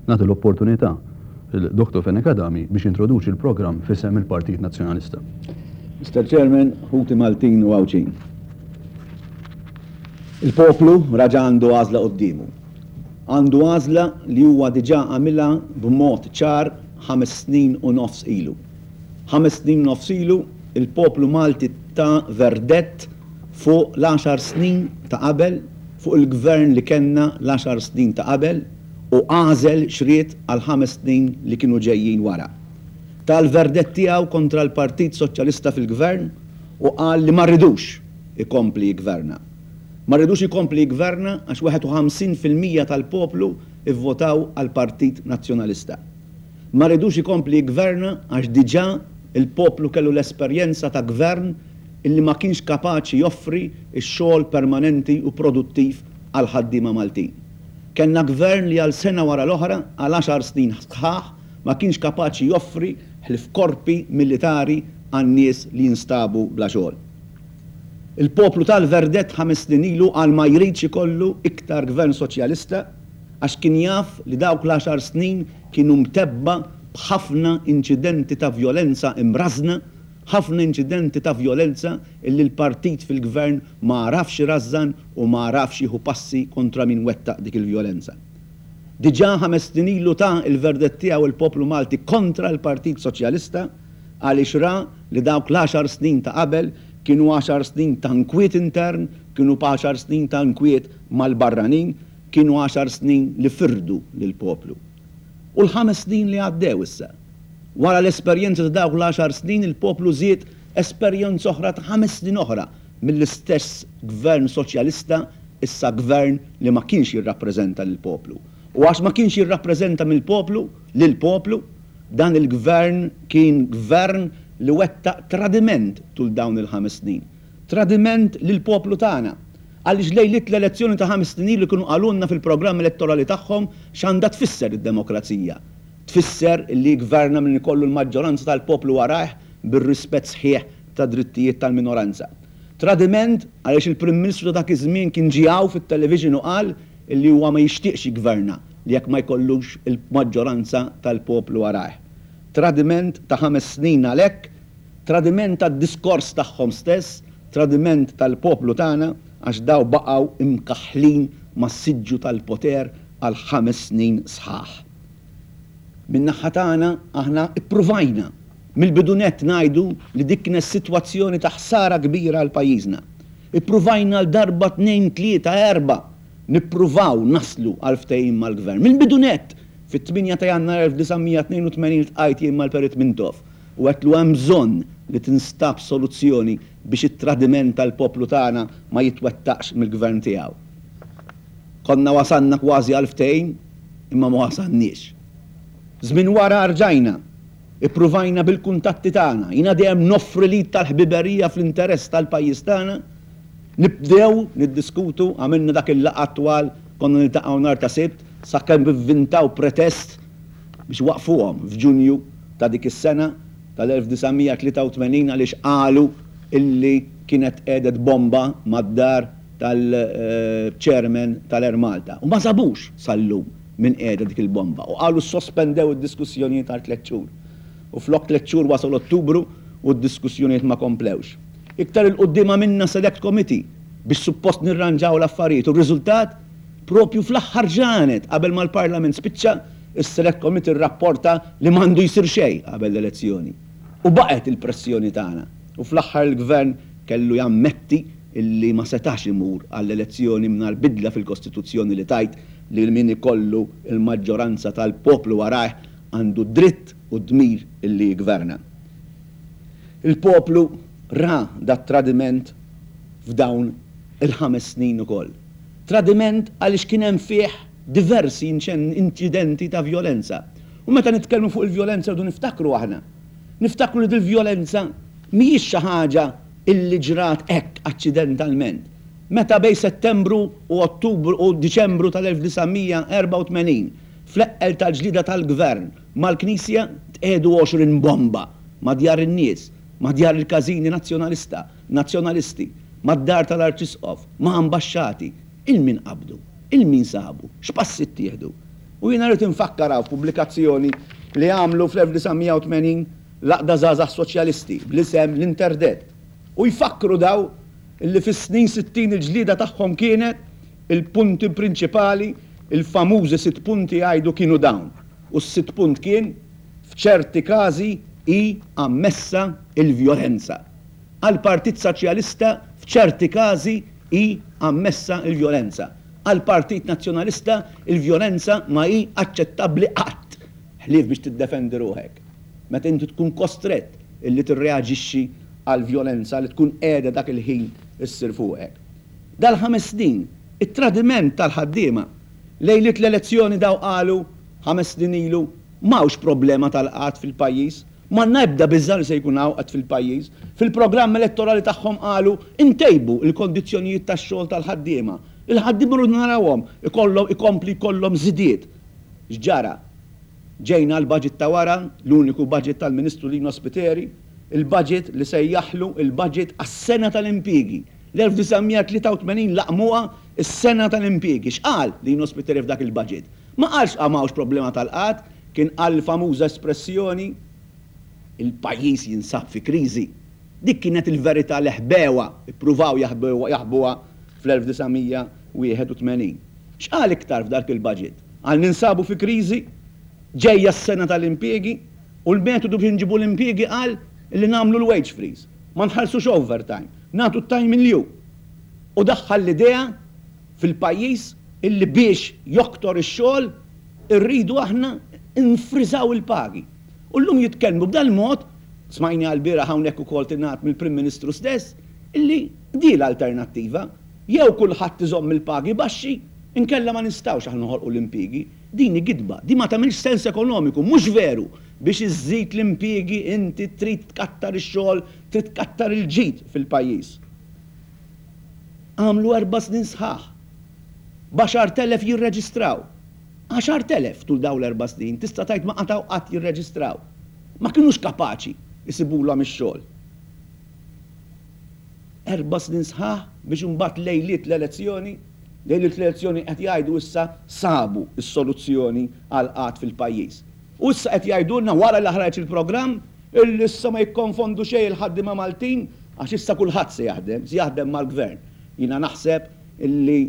Nagħti l-opportunità lil Dottor Fenech Adami biex jintroduċi l-programm f'isem il-Partit Nazzjonalista. Mister Chairman, ħuti Maltin u Għawdxin. Il-poplu raġa' għandu għażla quddiemu. Għandu għażla li huwa diġà għamilha b'mod ċar 5 snin u nofs ilu. 5 snin u nofs ilu, il-poplu Malti ta verdett fuq l-10 snin ta' qabel, fuq il-gvern li kellna l-10 snin ta' qabel u għażel x'ried għal 5 snin li kienu ġejjin wara. Ta l-verdett tiegħu kontra l-Partit Soċjalista fil-gvern u qal li ma rridux ikompli jiggverna. Ma rridux ikompli jiggverna għax 51% tal-poplu ivvotaw għall-Partit Nazzjonalista. Ma rridux ikompli jiggverna għax diġà il-poplu kellu l-esperjenza ta' gvern illi ma kienx kapaċi joffri x-xogħol permanenti u produttiv għall-ħaddiema Maltin. Kellna gvern li għal sena wara l-oħra, għal 10 snin sħaħ, ma kienx kapaċi joffri ħlief korpi militari għan-nies li jinstabu bla xogħol. Il-poplu ta l-verdett 5 snin ilu għal ma jridx ikollu iktar gvern soċjalista għax kien jaf li dawk l-10 snin kienu mtebba b'ħafna inċidenti ta' vjolenza imrażżna, ħafna inċidenti ta' vjolenza illi l-partit fil-gvern ma għarafx irażżan u ma għarafx jieħu passi kontra min wettaq dik il-vjolenza. Diġà 5 snin ilu ta l-verdett tiegħu il-poplu Malti kontra l-Partit Soċjalista għaliex ra li dawk l-10 snin ta' qabel kienu 10 snin ta' nkwiet intern, kienu 10 snin ta' nkwiet mal-barranin, kienu 10 snin li firdu lill-poplu. U l-5 snin li għaddew issa. Wara l-esperjenza ta' dawk l-10 snin il-poplu żied esperjenza oħra ta' 5 snin oħra mill-istess gvern soċjalista, issa gvern li ma kienx jirrappreżenta lill-poplu. U għax ma kienx jirrappreżenta mill-poplu, lill-poplu, dan il-gvern kien gvern li wettaq tradiment tul dawn il-5 snin. Tradiment lill-poplu tagħna. Għaliex lejliet l-elezzjoni ta' 5 snin ilu kienu qalulna fil-programm elettorali tagħhom x'għandha tfisser id-demokrazija. Tfisser li jiggverna min ikollu l-maġġoranza tal-poplu warajh bir-rispett sħiħ tad-drittijiet tal-minoranza. Tradiment għaliex il-Prim Ministru ta' dak iż-żmien kien ġie hawn fit-television u qal li huwa ma jixtieqx jiggverna li jekk ma jkollux il-maġġoranza tal-poplu warajh. Tradiment ta' 5 snin għalhekk, tradiment tad-diskors tagħhom stess, tradiment tal-poplu tagħna għax daw baqgħu imkaħħlin mas-siġġu tal-poter għal 5 snin sħaħ. Min-naħa tagħna aħna ippruvajna mill-bidu nett ngħidu li dik kienet sitwazzjoni ta' ħsara kbira għal pajjiżna. Ippruvajna għal darba tnejn, tlieta, erba' nippruvaw naslu għal ftehim mal-gvern. Mill-bidu nett, fit-8 ta' Jannar 1982 iltqajt jien mal-Perit Mintoff u għedtlu hemm bżonn li tinstab soluzzjoni biex it-tradiment tal-poplu tagħna ma jitwettaqx mill-gvern tiegħu. Konna wasalna kważi għal ftehim imma ma wasalniex. Żmien wara rġajna, ippruvajna bil-kuntatti tagħna, jiena dejjem noffri l-id tal-ħbiberija fl-interess tal-pajjiż tagħna, nibdew niddiskutu, għamilna dak il-laqgħat twal, konna niltaqgħu nhar ta' Sibt, sakemm ivvintaw pretest biex waqfuhom f'Ġunju ta' dik is-sena tal-1983 għaliex qalu illi kienet tqiegħdet bomba mad-dar tal-chairman tal-Air Malta. U ma sabux sal-lum min qiegħda dik il-bomba. U qalu sospendew id-diskussjonijiet għal 3 xhur. U flok 3 xhur wasal Ottubru u d-diskussjonijiet ma komplewx. Iktar 'il quddiem għamilna select committee biex suppost nirranġaw l-affarijiet u r-riżultat propju fl-aħħar ġranet qabel ma l-Parlament spiċċa, is-select committee rrapporta li m'għandu jsir xejn qabel l-elezzjoni. U baqgħet il-pressjoni tagħna. U fl-aħħar il-gvern kellu jammetti illi ma setax imur għall-elezzjoni mingħajr bidla fil-Kostituzzjoni li tgħid li min ikollu l-maġġoranza tal-poplu warajh għandu dritt u dmir illi jiggverna. Il-poplu ra dat-tradiment f'dawn il-5 snin ukoll. Tradiment għaliex kien hemm fih diversi inċidenti ta' vjolenza. U meta nitkellmu fuq il-vjolenza rridu niftakru aħna. Niftakru li dil-vjolenza mhijiex xi ħaġa illi ġrat hekk aċċidentalment. Meta bejn Settembru u Ottubru u Diċembru tal-1984 fl-eqqel tal-ġlieda tal-gvern mal-Knisja tqiegħdu 20 bomba ma' djar in-nies, ma' djar il-każini nazzjonalista, nazzjonalisti, mad-dar tal-Arċisqof, ma' ambaxxati. 'Il min qabdu? 'Il min sabu? X'passi ttieħdu? U jiena rrid infakkar hawn f'pubblikazzjoni li għamlu fl-1980 l-Għaqda Żgħażagħ Soċjalisti bl-isem L-Interdett. U jfakkru daw illi fis-snin 60 il-ġlieda tagħhom kienet il-punti prinċipali, il-famużi sitt punti jgħidu kienu dawn. U s-sitt punt kien, f'ċerti każi hi ammessa l-vjolenza. Għall-Partit Saċjalista f'ċerti każi hi ammessa l-vjolenza. Għall-Partit Nazzjonalista l-vjolenza ma hi aċċettabbli qatt, ħlief biex tiddefendi ruħek. Meta inti tkun kostrett illi tirreaġixxi għall-vjolenza li tkun qiegħda dak il-ħin issir fuqek. Dal-ħames snin, it-tradiment tal-ħaddiema. Lejliet l-elezzjoni daw qalu, ħames snin ilu, m'hawnx problema tal-qgħad fil-pajjiż. M'għandna ebda biża' li se jkun hawn qgħad fil-pajjiż. Fil-programm elettorali tagħhom qalu, intejbu l-kondizzjonijiet tax-xogħol tal-ħaddiema. Il-ħaddiema rridu narawhom ikollhom ikompli jkollhom żidiet. X'ġara? Ġejna għall-budget ta' wara, l-uniku budget tal-Ministru Lino Spiteri, il-budget li sejjaħlu il-budget għas-sena tal-impjiegi. L-1983 laqmuha s-sena tal-impjiegi. X'qal Lino Spiteri f'dak il-budget? Ma qalx m'hawnx problema tal-qgħad, kien qal l-famuża espressjoni il-pajjiż jinsab fi kriżi. Dik kienet il-verità li ħbewha, ippruvaw jaħbuha fl-1981. X'qal iktar f'dak il-budget? Qal ninsabu fi kriżi, ġejja s-sena tal-impjiegi u l-metodu biex inġibu l-impjiegi qal li nagħmlu l-wage freeze, ma nħallsux overtime, nagħtu t-time in lieu. U daħħal l-idea fil-pajjiż illi biex joktor ix-xogħol irridu aħna nfriżaw il-pagi. U llum jitkellmu b'dal-mod, smajniha lbieraħ hawnhekk ukoll tingħad mill-Prim Ministru stess, illi di l-alternattiva. Jew kulħadd iżomm il-pagi baxxi, inkella ma nistgħux aħna noħolqu l-impjiegi. Din hi gidba, din ma tagħmilx sens ekonomiku, mhux veru! Biex iżżid l-impjiegi inti trid tkattar ix-xogħol, trid tkattar il-ġid fil-pajjiż. Għamlu erba' snin sħaħ. B'10,000 jirreġistraw. 10,000 tul dawn l-erba' snin, tista' tgħid ma qatgħu qatt jirreġistraw. Ma kinux kapaċi jsibulhom ix-xogħol. Erba' snin sħaħ biex imbagħad lejliet l-elezzjoni, lejliet l-elezzjoni qed jgħidu issa sabu s-soluzzjoni għall-qgħad fil-pajjiż. U issa qed jgħidulna wara li ħareġ il-programm illi issa ma jikkonfondu xejn il-ħaddiema Maltin għax issa kulħadd se jaħdem, se jaħdem mal-Gvern. Jiena naħseb illi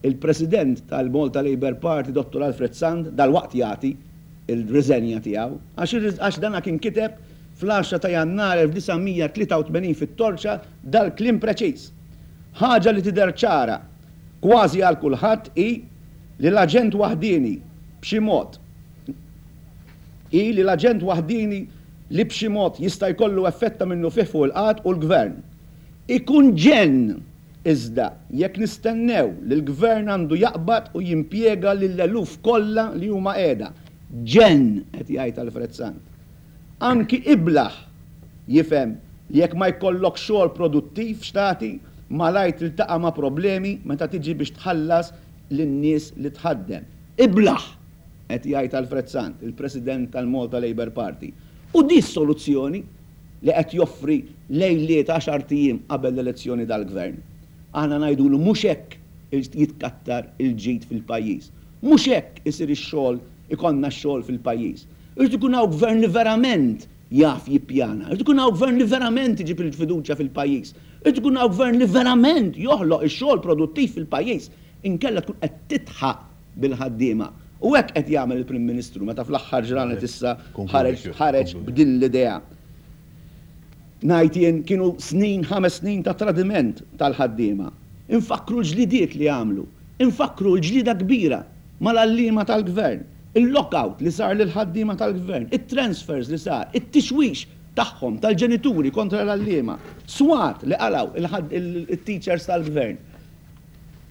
il-President tal-Malta Labour Party Dottor Alfred Sant dalwaqt jagħti l-riżenja tiegħu għax għax dana kien kiteb fl-10 ta' Jannar 1983 fit-Torċa dal-kliem preċiż. Ħaġa li tidher ċara kważi għal kulħadd hi li l-aġent waħdieni b'xi mod hi li l-aġent waħdieni li b'xi mod jista' jkollu effett ta' minnufih fuq il-qgħad hu l-Gvern. Ikun ġenn, iżda, jekk nistennew li l-Gvern għandu jaqbad u jimpjega lill-eluf kollha li huma qiegħda. Ġenn, qed jgħid Alfred Sant. Anki iblah jifhem li jekk ma jkollokx xogħol produttiv x'tagħti, malajr tiltaqa' ma' problemi meta tiġi biex tħallas lin-nies li tħaddem. Iblah! qed jgħid Alfred Sant, il-President tal-Malta Labour Party. U di s-soluzzjoni li qed joffri lejliet għaxart ijiem qabel l-elezzjoni dal-Gvern. Aħna ngħidulu mhux hekk jitkattar il-ġid fil-pajjiż. Mhux hekk isir ix-xogħol, ikollna x-xogħol fil-pajjiż. Irid ikun hawn Gvern li verament jaf jippjana. Irid ikun hawn Gvern li verament iġib il-fiduċja fil-pajjiż. Irid ikun hawn Gvern li verament joħloq ix-xogħol produttiv fil-pajjiż. Inkella tkun qed tidħaq bil-ħaddiema. U hekk qed jagħmel il-Prim Ministru meta fl-aħħar ġranet issa ħareġ ħareġ b'din l-idea. Ngħid jien kienu snin, ħames snin ta' tradiment tal-ħaddiema. Infakkru l-ġlidiet li għamlu. Infakkru l-ġlieda kbira mal-għalliema tal-Gvern, il-lockout li sar lill-ħaddiema tal-Gvern, it-transfers li sar, it-tixwix tagħhom, tal-ġenituri kontra l-għalliema, swat li qalgħu il-teachers tal-Gvern.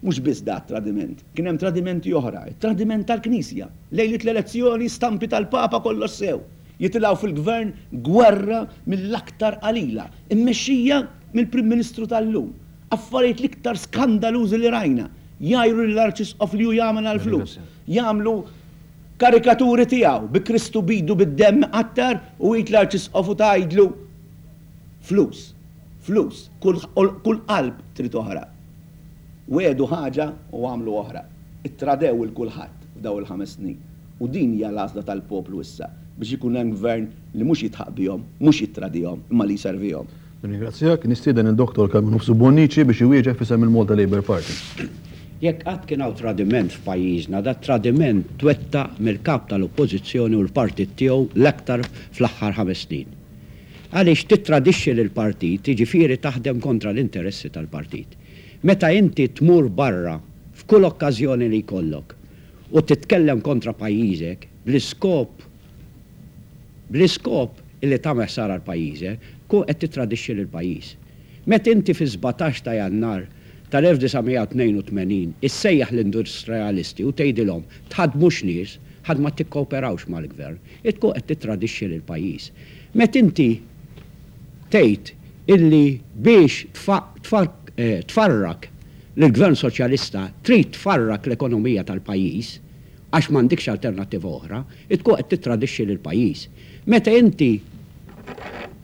Mhux biss da t-tradiment, kien hemm tradimenti oħra, it-tradiment tal-Knisja. Lejliet l-elezzjoni, stampi tal-Papa kollox sew. Jitilgħu fil-Gvern gwerra mill-aktar qalila, immexxija mill-Prim Ministru tal-lum. Affarijiet l-iktar skandalużi li rajna. Jgħajru lill-Arċisqof li hu jagħmel għall-flus. Jagħmlu karikaturi tiegħu bi Kristu b'idu bid-demm iqattar u id l-Arċisqof u tgħidlu flus, flus, kull qalb trid oħra. Wiegħdu ħaġa u għamlu oħra. Ittradew 'il kulħadd f'dawn il-ħames snin. U din hija l-għażla tal-poplu issa, biex ikun hemm gvern li mhux jidħaq bihom, mhux jittradihom, imma li jservihom. Nirringrazzjak. Nistieden lil Dottor Carmenu Nofsu Bonnici biex iwieġeb f'isem il-Malta Labour Party. Jekk qatt kien hawn tradiment f'pajjiżna, dat-tradiment twettaq mill-Kap tal-Oppożizzjoni u l-partit tiegħu l-aktar fl-aħħar ħames snin. Għaliex tittradixxi lill-partit jiġifieri taħdem kontra l-interessi tal-partit. Meta inti tmur barra f'kull okkażjoni li jkollok u titkellem kontra pajjiżek bl-iskop bl-iskop illi tagħmel ħsara 'l pajjiżek, tkun qed tittradixxi lill-pajjiż. Meta inti fis-17 ta' Jannar tal-1982 issejjaħ l-industrialisti u tgħidilhom tħaddmux nies ħadd ma tikkooperawx mal-gvern, tkun qed tittradixxi lill-pajjiż. Meta inti tgħid illi biex tfarrak lill-Gvern Soċjalista trid tfarrak l-ekonomija tal-pajjiż għax m'għandikx alternattiva oħra, tkun qed tittradixxi lill-pajjiż. Meta inti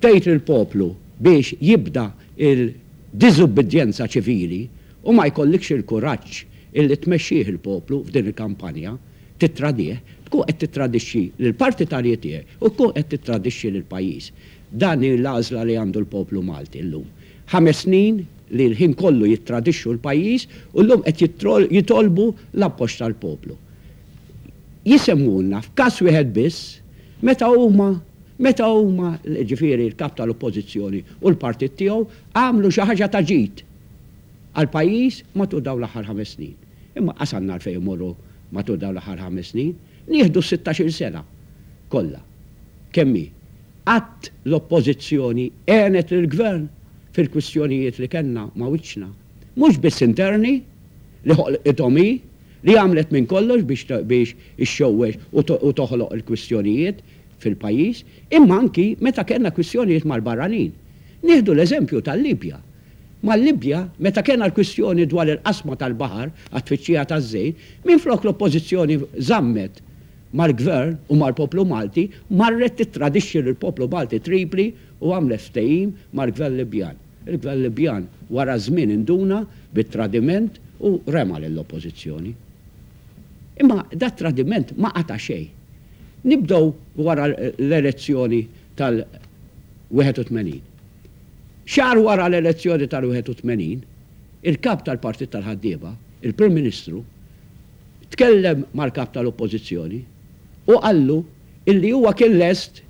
tgħid lill-poplu biex jibda l-diżubbidjenza ċivili u ma jkollikx il-kuraġġ illi tmexxih il-poplu f'din il-kampanja, tittradih, tkun qed tittradixxi lill-partitarji tiegħek u tkun qed tittradixxi lill-pajjiż. Dan hi l-għażla li għandu l-poplu Malti llum. Ħames snin li l-ħin kollu jittradixxu l-pajjiż u llum qed jitolbu l-appoġġ tal-poplu. Jisemmulna f'każ wieħed biss meta huma meta huma, jiġifieri l-Kap tal-Oppożizzjoni u l-partit tiegħu, għamlu xi ħaġa ta' ġid għall-pajjiż matul dawn l-aħħar ħames snin. Imma qas għandna għalfejn immorru matul dawn l-aħħar ħames snin. Nieħdu s-sittax-il sena kollha kemm hi. Qatt l-Oppożizzjoni għenet lill-Gvern fil-kwistjonijiet li kellna ma' wiċċna, mhux biss interni, li ħolqithom hi, li għamlet minn kollox biex biex ixxewwex u toħloq il-kwistjonijiet fil-pajjiż, imma anki meta kellna kwistjonijiet mal-barranin. Nieħdu l-eżempju tal-Libja. Mal-Libja, meta kellna l-kwistjoni dwar il-qasma tal-baħar għat-tfittxija taż-żejt, minflok l-Oppożizzjoni żammet mal-Gvern u mal-poplu Malti, marret tittradixxi lill-poplu Malti Tripli u għamlet ftehim mal-Gvern Libjan. Il-Gvern Libjan wara żmien induna bit-tradiment u rema lill-Oppożizzjoni. Imma dat-tradiment ma qata' xejn. Nibdew wara l-elezzjoni tal-81. Xahar wara l-elezzjoni tal-81, il-Kap tal-Partit tal-Ħaddiema, il-Prim Ministru, tkellem mal-Kap tal-Oppożizzjoni u qallu illi huwa kien lest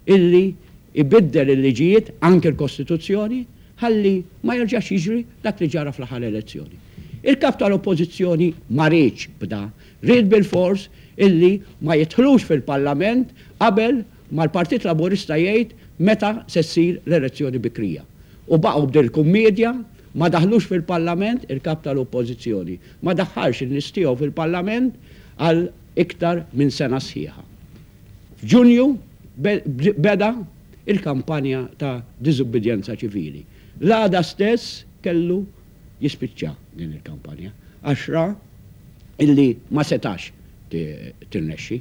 illi jbiddel il-liġijiet, anki l-Kostituzzjoni, ħalli ma jerġax jiġri dak li ġara fl-aħħar elezzjoni. Il-Kap tal-Oppożizzjoni ma riedx b'da, ried bilfors illi ma jidħlux fil-Parlament qabel ma l-Partit Laburista jgħid meta se ssir l-elezzjoni bikrija. U baqgħu b'din il-kummiedja, ma daħlux fil-Parlament, il-Kap tal-Oppożizzjoni ma daħħalx in-nies tiegħu fil-Parlament għal iktar minn sena sħiħa. F'Ġunju beda il-kampanja ta' diżubbidjenza ċivili. L-għada stess kellu jispiċċa din il-kampanja għax ra illi ma setax tirnexxi.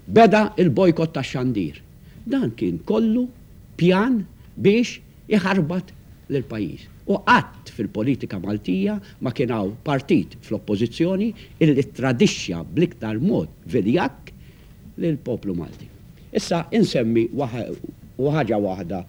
Beda il-bojkott tax-xandir. Dan kien kollu pjan biex iħarbat lill-pajjiż. U qatt fil-politika Maltija ma kien hawn partit fl-Oppożizzjoni illi ttradixxa bl-iktar mod viljakk lill-poplu Malti. Issa insemmi ħaġa waħda,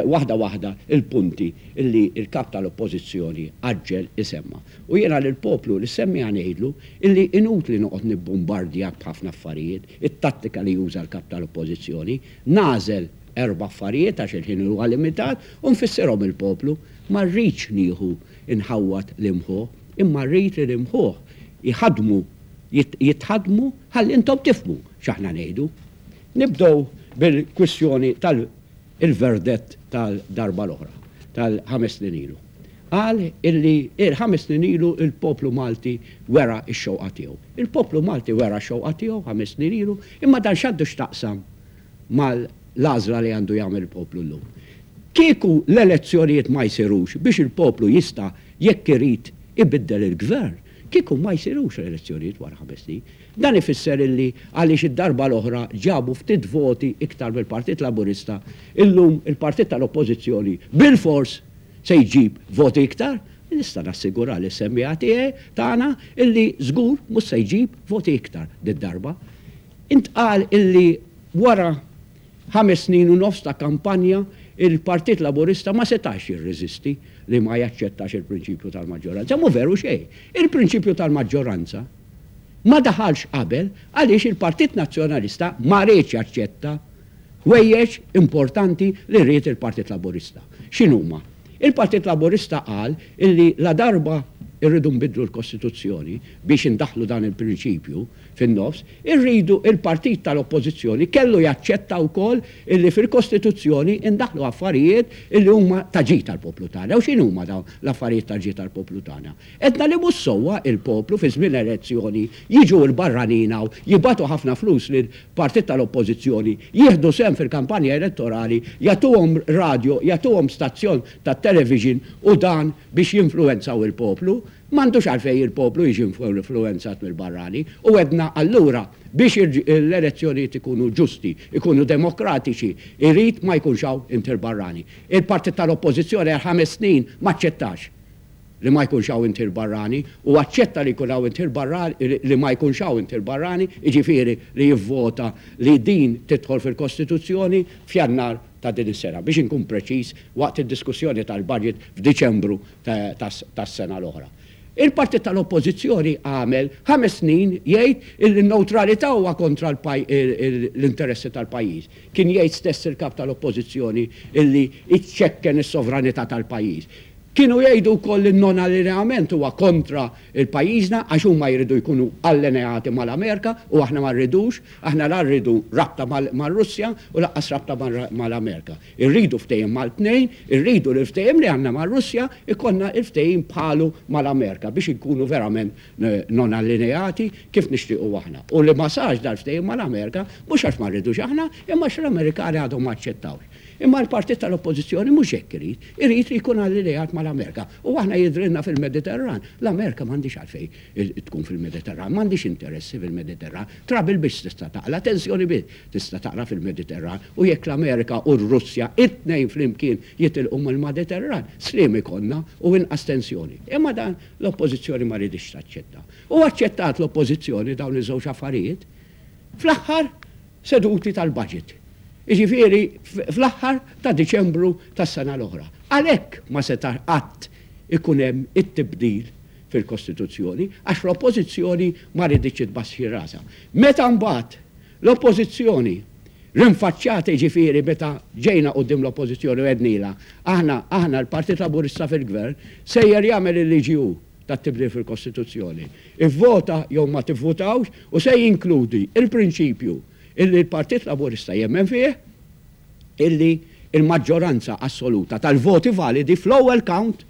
waħda waħda l-punti illi l-Kap tal-Oppożizzjoni għaġġel isemma. U jiena lill-poplu li semmiha ngħidlu illi inutli noqgħod nibbumbardjak b'ħafna affarijiet, it-tattika li juża l-Kap tal-Oppożizzjoni, nagħżel erba' affarijiet għax il-ħin huwa limitat u nfissirhom il-poplu. Ma rridx nieħu nħawwad l-imħuħ, imma rrid li l-imħuħ jħaddmu, jitħaddmu ħalli intom tifhmu x'aħna ngħidu. Nibdew bil-kwistjoni tal-verdett tal-darba l-oħra, tal-ħames snin ilu. Qal illi ħames snin ilu l-poplu Malti wera x-xewqa tiegħu. Il-poplu Malti wera x-xewqa tiegħu ħames snin ilu, imma dan x'għandu x'taqsam mal-għażla li għandu jagħmel il-poplu llum. Kieku l-elezzjonijiet ma jsirux biex il-poplu jista' jekk irid ibiddel il-gvern, kieku ma jsirux l-elezzjonijiet wara ħames snin. Dan ifisser illi għaliex id-darba l-oħra ġabu ftit voti iktar mill-Partit Laburista, illum il-partit tal-Oppożizzjoni bilfors se jġib voti iktar? Nista' nassigura lis-semmiegħa tiegħi, tagħna, illi żgur mhux se jġib voti iktar did-darba. Intqal illi wara ħames snin u nofs ta' kampanja il-Partit Laburista ma setax jirreżisti li ma jaċċettax il-prinċipju tal-maġġoranza. Mhu veru xejn. Il-prinċipju tal-maġġoranza ma daħalx qabel għaliex il-Partit Nazzjonalista ma riedx jaċċetta ħwejjeġ importanti li ried il-Partit Laburista. X'inhuma? Il-Partit Laburista qal illi ladarba rridu nbiddlu l-Kostituzzjoni biex indaħħlu dan il-prinċipju fin-nofs, irridu il-partit tal-Oppożizzjoni kellu jaċċetta wkoll illi fil-Kostituzzjoni indaħħlu affarijiet illi huma ta' ġid għall-poplu tagħna. U x'inhuma dawn l-affarijiet ta' ġid għall-poplu tagħna? Għedna li mhux sewwa il-poplu fi żmien elezzjoni jiġu l-barranin hawn jibagħtu ħafna flus lil partit tal-oppożizzjoni jieħdu sehem fil-kampanja elettorali jagħtuhom radio jagħtuhom stazzjon tat-television u dan biex jinfluwenzaw il-poplu. M'għandux għalfejn il-poplu jiġi influwenzat mill-barrani u għedna allura biex l-elezzjonijiet ikunu ġusti, ikunu demokratiċi jrid ma jkunx hawn intir barrani. Il-partit tal-oppożizzjoni għal ħames snin m'aċċettax. li ma jkunx hawn intir barrani u aċċetta li jkun hawn intir barrani li ma jkunx hawn intir barrani, jiġifieri li jivvota li din tidħol fil-Kostituzzjoni f'Jannar ta' din is-sena, biex inkun preċiż waqt id-diskussjoni tal-budget f'Diċembru tas-sena l-oħra. Il-partit tal-Oppożizzjoni għamel ħames snin jgħid illi n-newtralità huwa kontra l-interessi tal-pajjiż. Kien jgħid stess il-Kap tal-Oppożizzjoni illi jċekken is-sovranità tal-pajjiż. Kienu jgħidu wkoll li n-non-allineament huwa kontra l-pajjiżna għax huma jridu jkunu allineati mal-Amerika u aħna ma rridux. Aħna la rridu rabta mar-Russja u lanqas rabta mal-Amerika. Irridu ftehim mal-tnejn, irridu li l-ftehim li għandna mar-Russja jkollna l-ftehim bħalu mal-Amerika biex inkunu verament non-allineati kif nixtiequ aħna. U li ma sarx dal-ftehim mal-Amerika mhux għax ma rridux aħna imma għax l-Amerikani għadhom ma aċċettawx. Imma l-partit tal-Oppożizzjoni mhux hekk irid. Irid li jkun allineat mal-Amerika. U aħna jidhrilna fil-Mediterran. L-Amerika m'għandhiex għalfejn tkun fil-Mediterran, m'għandhiex interessi fil-Mediterran. Trouble biss tista' taqla', tensjoni biss tista' taqla' fil-Mediterran. U jekk l-Amerika u r-Russja it-tnejn flimkien jitilqu mill-Maditerran, sliem ikollna u inqas tensjoni. Imma dan l-Oppożizzjoni ma riditx taċċetta. U aċċettat l-Oppożizzjoni dawn iż-żewġ affarijiet fl-aħħar seduti tal-budget, jiġifieri fl-aħħar ta' Diċembru tas-sena l-oħra. Għalhekk ma seta' qatt ikun hemm it-tibdil fil-Kostituzzjoni għax l-Oppożizzjoni ma riditx tbaxxi rasha. Meta mbagħad l-Oppożizzjoni rinfaċċat jiġifieri meta ġejna quddiem l-Oppożizzjoni u għednilha aħna aħna l-Partit Laburista fil-Gvern sejjer jagħmel il-liġi hu tat-tibdil fil-Kostituzzjoni. Ivvota jew ma tivvutawx u se jinkludi l-prinċipju illi l-Partit Laburista jemmen fih illi l-maġġoranza assoluta tal-voti validi fl-ewwel count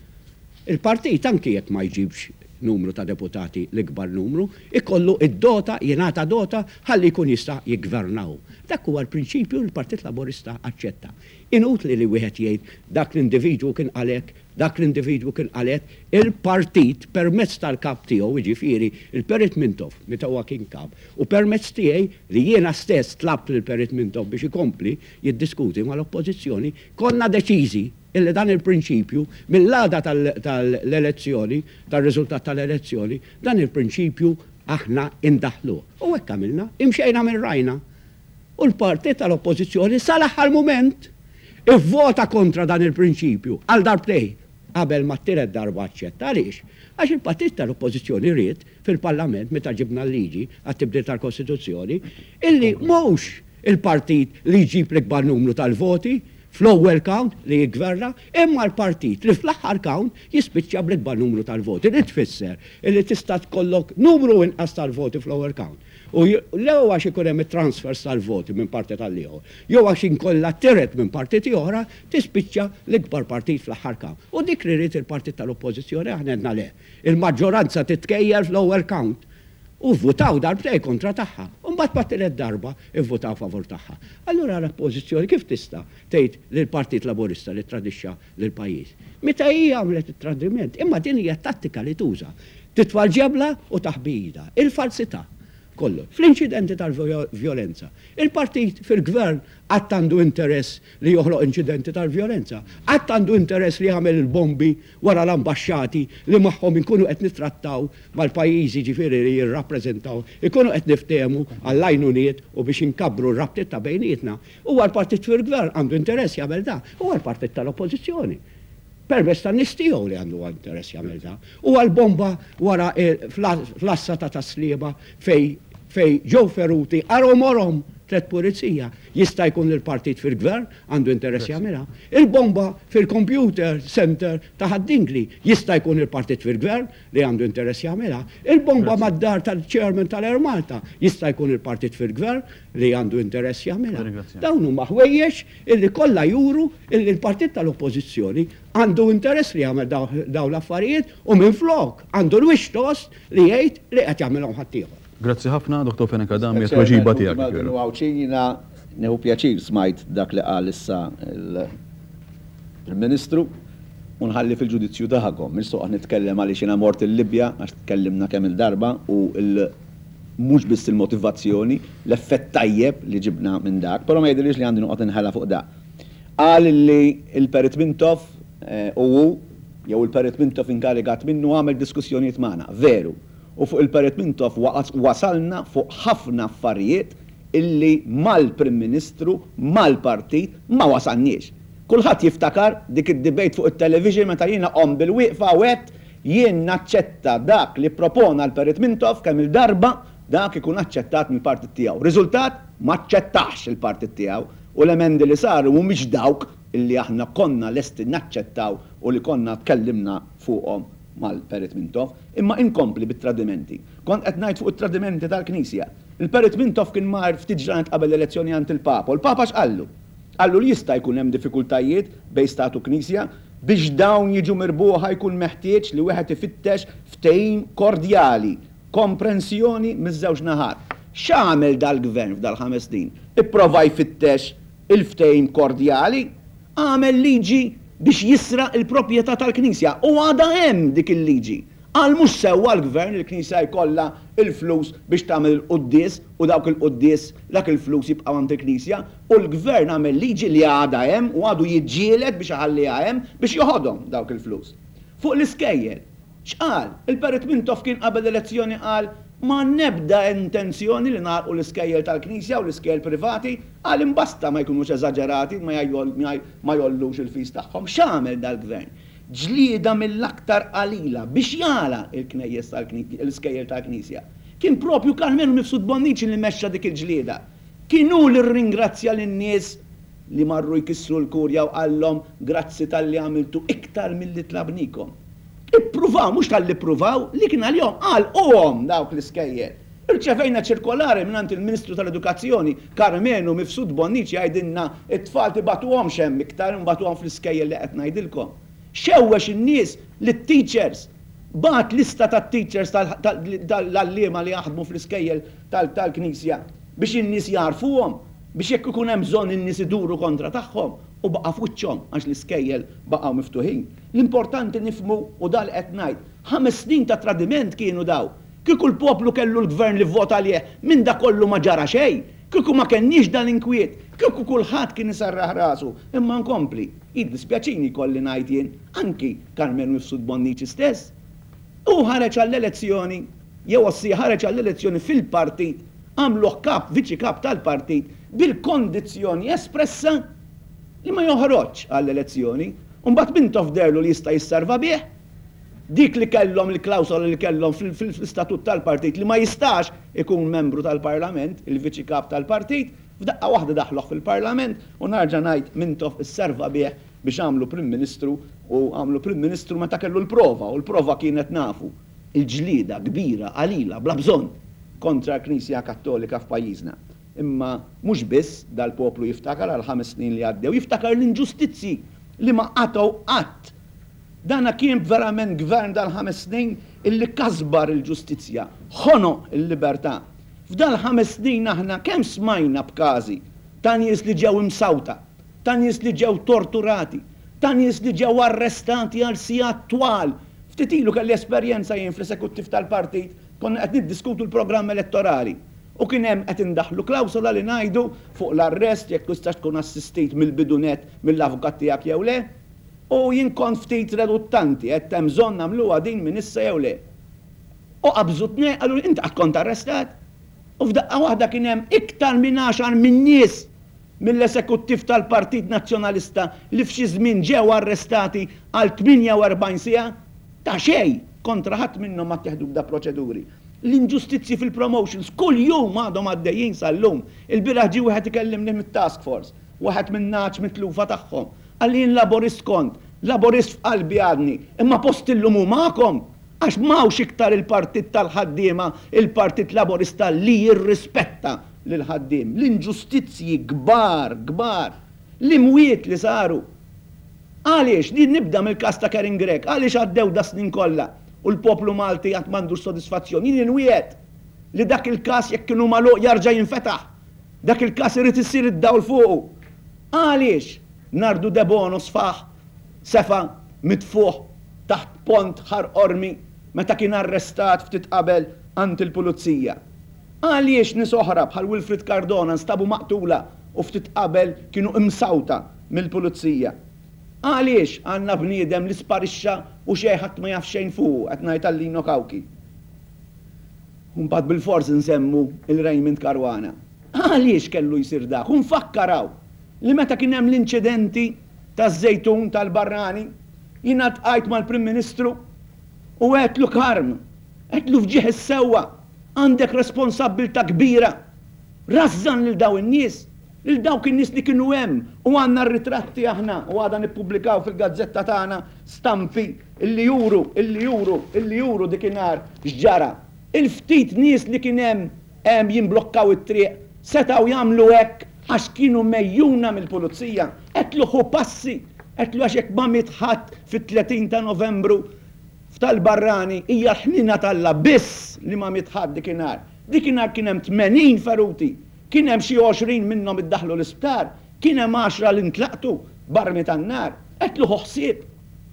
il-partit anki jekk ma jġibx numru ta' deputati l-ikbar numru, ikollu d-dota, jingħata dota ħalli jkun jista' jiggverna hu. Dak huwa l-prinċipju li l-Partit Laburista aċċetta. Inutli li wieħed jgħid dak l-individwu kien qal hekk, Dak l-individwu kien qal hekk, il-partit permezz tal-kap tiegħu, jiġifieri il-Perit Mintoff meta huwa kien kap, u permezz tiegħi li jiena stess tlabt lill-Perit Mintoff biex ikompli jiddiskuti mal-Oppożizzjoni, konna deċiżi illi dan il-prinċipju mill-għada tal-elezzjoni, tar-riżultat tal-elezzjoni, dan il-prinċipju aħna indaħħluh. U hekk għamilna, imxejna minn rajna. U l-partit tal-Oppożizzjoni sal-aħħar mument ivvota kontra dan il-prinċipju għal darbtejn qabel ma t-tielet darba aċċetta. Għaliex? Għax il-partit tal-Oppożizzjoni ried fil-Parlament meta ġibna l-liġi għat-tibdil tal-Kostituzzjoni illi mhux il-partit li jġib l-ikbar numru tal-voti fl-ewwel count li jiggverna imma l-partit li fl-aħħar count jispiċċa bl-ikbar numru tal-voti li tfisser illi tista' tkollok numru inqas tal-voti fl-ewwel count. U jew għax ikun hemm it-transfers tal-voti minn partit għal ieħor, jew għax inkollha tiret minn partiti oħra, tispiċċa l-ikbar partit fl-aħħar count. U dik li ried il-partit tal-Oppożizzjoni aħna għedna le. Il-maġġoranza titkejjel fl-ewwel count. U vvutaw darbtejn kontra tagħha. U mbagħad mat-tielet darba vvutaw favur tagħha. Allura l-Oppożizzjoni kif tista' tgħid lill-Partit Laburista li ttradixxa lill-pajjiż? Meta hi għamlet it-tradiment. Imma din hija t-tattika li tuża. Titfa' l-ġebla u taħbi idha. Il-falsità. Kollox. Fl-inċidenti tal-vjolenza. Il-partit fil-gvern qatt għandu interess li joħloq inċidenti tal-vjolenza? Qatt għandu interess li jagħmel il-bombi wara l-ambaxxati li magħhom inkunu qed nittrattaw mal-pajjiżi jiġifieri li jirrappreżentaw, ikunu qed niftehmu għall-għajnuniet u biex inkabbru r-rabtiet ta' bejnietna? Huwa l-partit fil-gvern għandu interess jagħmel dan? Huwa l-partit tal-oppożizzjoni. Permezz tan-nies tiegħu li għandu interess jagħmel dan. Huwa l-bomba wara fl-għassa ta' Tas-Sliema fejn fejn ġew feruti għarhom għorhom tlett pulizija. Jista' jkun li l-partit fil-gvern għandu interess jagħmilha. Il-bomba fil-computer centre ta' Ħad-Dingli. Jista' jkun il-partit fil-gvern li għandu interess jagħmilha. Il-bomba mad-dar tal-chairman tal-Air Malta. Jista' jkun il-partit fil-gvern li għandu interess jagħmilha. Dawn huma ħwejjeġ illi kollha juru illi l-partit tal-Oppożizzjoni għandu interess li jagħmel dawn l-affarijiet u minflok għandu l-wiċċ tost li jgħid li qed jagħmilhom ħaddieħor. Grazzi ħafna, Dottor Fenech Adami, għat-tweġiba tiegħek. Maltin u Għawdxin, jiena nieħu pjaċir smajt dak li qal issa l-Prim Ministru u nħalli fil-ġudizzju tagħkom. Mhix se noqgħod nitkellem għaliex jiena mort il-Libja għax tkellimna kemm-il darba u mhux biss il-motivazzjoni, l-effett tajjeb li ġibna minn dak, però ma jidhirlix li għandi noqgħod inħela fuq da. Qal li l-Perit Mintoff u hu, jew il-Perit Mintoff inkarigat minnu għamel diskussjonijiet magħna. Veru. U fuq il-Perit Mintoff wasalna fuq ħafna affarijiet illi mal-Prim Ministru, mal-partit, ma wasalniex. Kulħadd jiftakar dik id-debate fuq it-television meta jiena qomt bil-wieqfa u għedt Jien naċċetta dak li ppropona l-Perit Mintoff kemm-il darba dak ikun aċċettat mill-partit tiegħu. Riżultat, m'aċċettahx il-partit tiegħu u l-emendi li saru mhumiex dawk illi aħna konna lesti naċċettaw u li konna tkellimna fuqhom mal-Perit Mintoff. Imma inkompli bit-tradimenti. Kont qed ngħid fuq it-tradimenti tal-Knisja. Il-Perit Mintoff kien mar ftit ġranet qabel l-elezzjoni għand il-Papa u l-Papa x'qallu? Qallu li jista' jkun hemm diffikultajiet bejn Stat u Knisja. Biex dawn jiġu mirbuħa jkun meħtieġ li wieħed ifittex ftehim kordjali, komprensjoni miż-żewġ naħat. X'għamel dal-Gvern f'dal-ħames snin? Ipprova jfittex il-ftehim kordjali? Għamel liġi biex jisraq il-proprjetà tal-Knisja u għadha hemm dik il-liġi. Qal mhux sewwa l-Gvern li l-Knisja jkollha l-flus biex tagħmel il-quddies u dawk il-quddies dak il-flus jibqgħu għand il-Knisja u l-Gvern għamel liġi li għadha hemm u għadu jiġġieled biex iħalliha hemm biex joħodhom dawk il-flus. Fuq l-iskejjel, x'qal? Il-Perit Mintoff kien qabel l-elezzjoni qal ma għandna ebda intenzjoni li nagħlqu l-iskejjel tal-Knisja u l-iskejjel privati, qal imbasta ma jkunux eżaġerati ma jgħollux il-fees tagħhom. X'għamel dal-Gvern? Ġlieda mill-aktar qalila biex jagħlaq il-knejjes l-iskejjel tal-Knisja. Kien propju Karmenu Mifsud Bonnici li mexxa dik il-ġlieda. Kien hu li rringrazzja lin-nies li marru jkissru l-Kurja u qallhom grazzi talli għamiltu iktar milli tlabnikom. Ippruvaw, mhux talli ppruvaw, li kien għalihom għalquhom dawk l-iskejjel. Irċevejna ċirkolari mingħand il-Ministru tal-Edukazzjoni, Karmenu Mifsud Bonnici jgħidilna t-tfal tibagħtuhomx hemm iktar, nbagħtuhom fl-iskejjel li qed ngħidilkom. Xewwex in-nies lit-teachers, bagħat lista tat-teachers tal-għalliema li jaħdmu fl-iskejjel tal-Knisja biex in-nies jagħrfuhom, biex jekk ikun hemm bżonn in-nies iduru kontra tagħhom u baqa' f'wiċċhom għax l-iskejjel baqgħu miftuħin. L-importanti nifhmu u dan li qed ngħid, ħames snin ta' tradiment kienu dawn. Kieku l-poplu kellu l-gvern li vvota għalih, minn dak kollu ma ġara xejn. Kieku ma kellniex dan l-inkwiet. Kieku kulħadd kien iserraħ rasu. Imma nkompli. Jiddispjaċini jkolli ngħid jien, anki Karmenu Mifsud Bonnici stess. Hu ħareġ għall-elezzjoni, jew ossia ħareġ għall-elezzjoni fil-partit, għamluh kap, viċi kap tal-partit, bil-kondizzjoni espressa li ma joħroġx għall-elezzjoni. U mbagħad Mintoff deherlu li jista' jisserva bih. Dik li kellhom il-klawsola li kellhom fl-istatut tal-partit li ma jistax ikun membru tal-Parlament, il-Viċi Kap tal-partit, f'daqqa waħda daħħluh fil-Parlament u narġa' ngħid Mintoff isserva bih biex għamlu Prim Ministru u għamlu Prim Ministru meta kellu l-prova u l-prova kienet nafu, il-ġlieda kbira qalila bla bżonn kontra l-Knisja Kattolika f'pajjiżna. Imma mhux biss dal-poplu jiftakar għall-ħames snin li għaddew, jiftakar l-inġustizzji li ma qatgħu qatt. Dana kien verament gvern dal-ħames snin illi kasbar il-ġustizzja, ħonoq il-libertà. F'dal-ħames snin aħna kemm smajna b'każi ta' nies li ġew imsawta, ta' nies li ġew torturati, ta' nies li ġew arrestati għal sigħat twal. Ftit ilu kelli esperjenza jien fl-esekuttiv tal-partit. Konna qed niddiskutu l-programm elettorali u kien hemm qed indaħħlu klawsola li ngħidu fuq l-arrest jekk tistax tkun assistit mill-bidu nett mill-avukat tiegħek jew le. U jien kont ftit reduttanti, għedt hemm bżonn nagħmluha din minn issa jew le. U qabżu tnejn qaluli int qatt kont arrestat? U f'daqqa waħda kien hemm iktar minn għaxar min-nies mill-esekuttiv tal-Partit Nazzjonalista li f'xi żmien ġew arrestati għal 48 siegħa ta' xejn kontra ħadd minnhom ma ttieħdu ebda proċeduri. L-inġustizzji fil-promotions kuljum għadhom għaddejjin sal-lum. Il-bieraħ ġie wieħed ikellimni mit-task force, wieħed min-nagħaġ mitlufa tagħhom. Qalli jien Laburist kont, Laburist f'qalbi għadni, imma posti llum hu magħkom għax m'hawnx iktar il-Partit tal-Ħaddiema, il-Partit Laburista li jirrispetta lill-ħaddiem. L-inġustizzji kbar, kbar, l-imwiet li saru. Għaliex? Li nibda mill-każ ta' Karen Grech, għaliex għaddew das-snin kollha u l-poplu Malti għad m'għandux sodisfazzjon? Jien inwiegħed li dak il-każ jekk inhu magħluq jarġa' jinfetaħ. Dak il-każ irid isir id-dawl fuqu. Għaliex Nardu Debono sfaħ sefa' mitfugħ taħt pont Ħar Qormi meta kien arrestat ftit qabel għand il-pulizija? Għaliex nies oħra bħal Wilfrid Cardona nstabu maqtula u ftit qabel kienu imsawta mill-pulizija? Għaliex għandna bniedem li sparixxa u xejn ħadd ma jaf xejn fuqu, qed ngħid għal Lino Cauchi. U mbagħad bilfors insemmu 'l Raymond Caruana. Għaliex kellu jsir dak? U nfakkar hawn li meta kien hemm l-inċidenti taż-Żejtun tal-Barrani, jiena ltqajt mal-Prim Ministru u għedtlu Karm, għedtlu f'ġieħ is-sewwa, Għandek responsabbiltà kbira. Rażżan lil dawn in-nies, lil dawk in-nies li kienu hemm u għandna r-ritratti aħna u għada nippubblikaw fil-gazzetta tagħna stampi illi juru, illi juru, illi juru dikinhar x'ġara. Il-ftit nies li kien hemm hemm jimblokkaw it-triq setgħu jagħmlu hekk għax kienu megħjuna mill-pulizija. Għedtlu ħu passi, għedtlu għax jekk ma miet ħadd fit-30 ta' Novembru F'tal-barrani hija l-ħniena t'Alla biss li ma miet ħadd dikinhar. Dikinhar kien hemm 80 feruti. Kien hemm xi 20 minnhom iddaħħlu l-isptar. Kien hemm għaxra li ntlaqtu b'armi tan-nar. Għedtlu ħu ħsieb.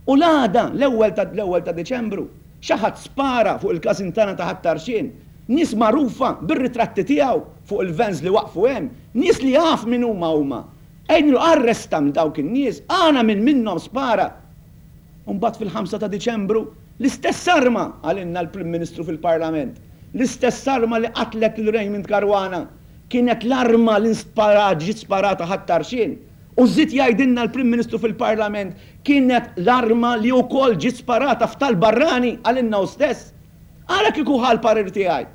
U l-għada, l-ewwel ta' l-ewwel ta' Diċembru, xi ħadd spara fuq il-każin tagħna ta' Ħat-Tarxien. Nies magħrufa bir-ritratti tiegħu fuq il-vans li waqfu hemm. Nies li jaf min huma huma. Għidlu arresta minn dawk in-nies, għana min minnhom spara. U mbagħad fil-ħamsa ta' Diċembru, l-istess arma, qalilna l-Prim Ministru fil-Parlament, l-istess arma li qatlet lil Raymond Caruana, kienet l-arma li nsparat, ġiet sparata Ħat-Tarxien. U żied jgħidilna l-Prim Ministru fil-Parlament, kienet l-arma li wkoll ġiet sparata f'Tal-Barrani, qalilna hu stess. Ara kieku ħa l-parir tiegħi.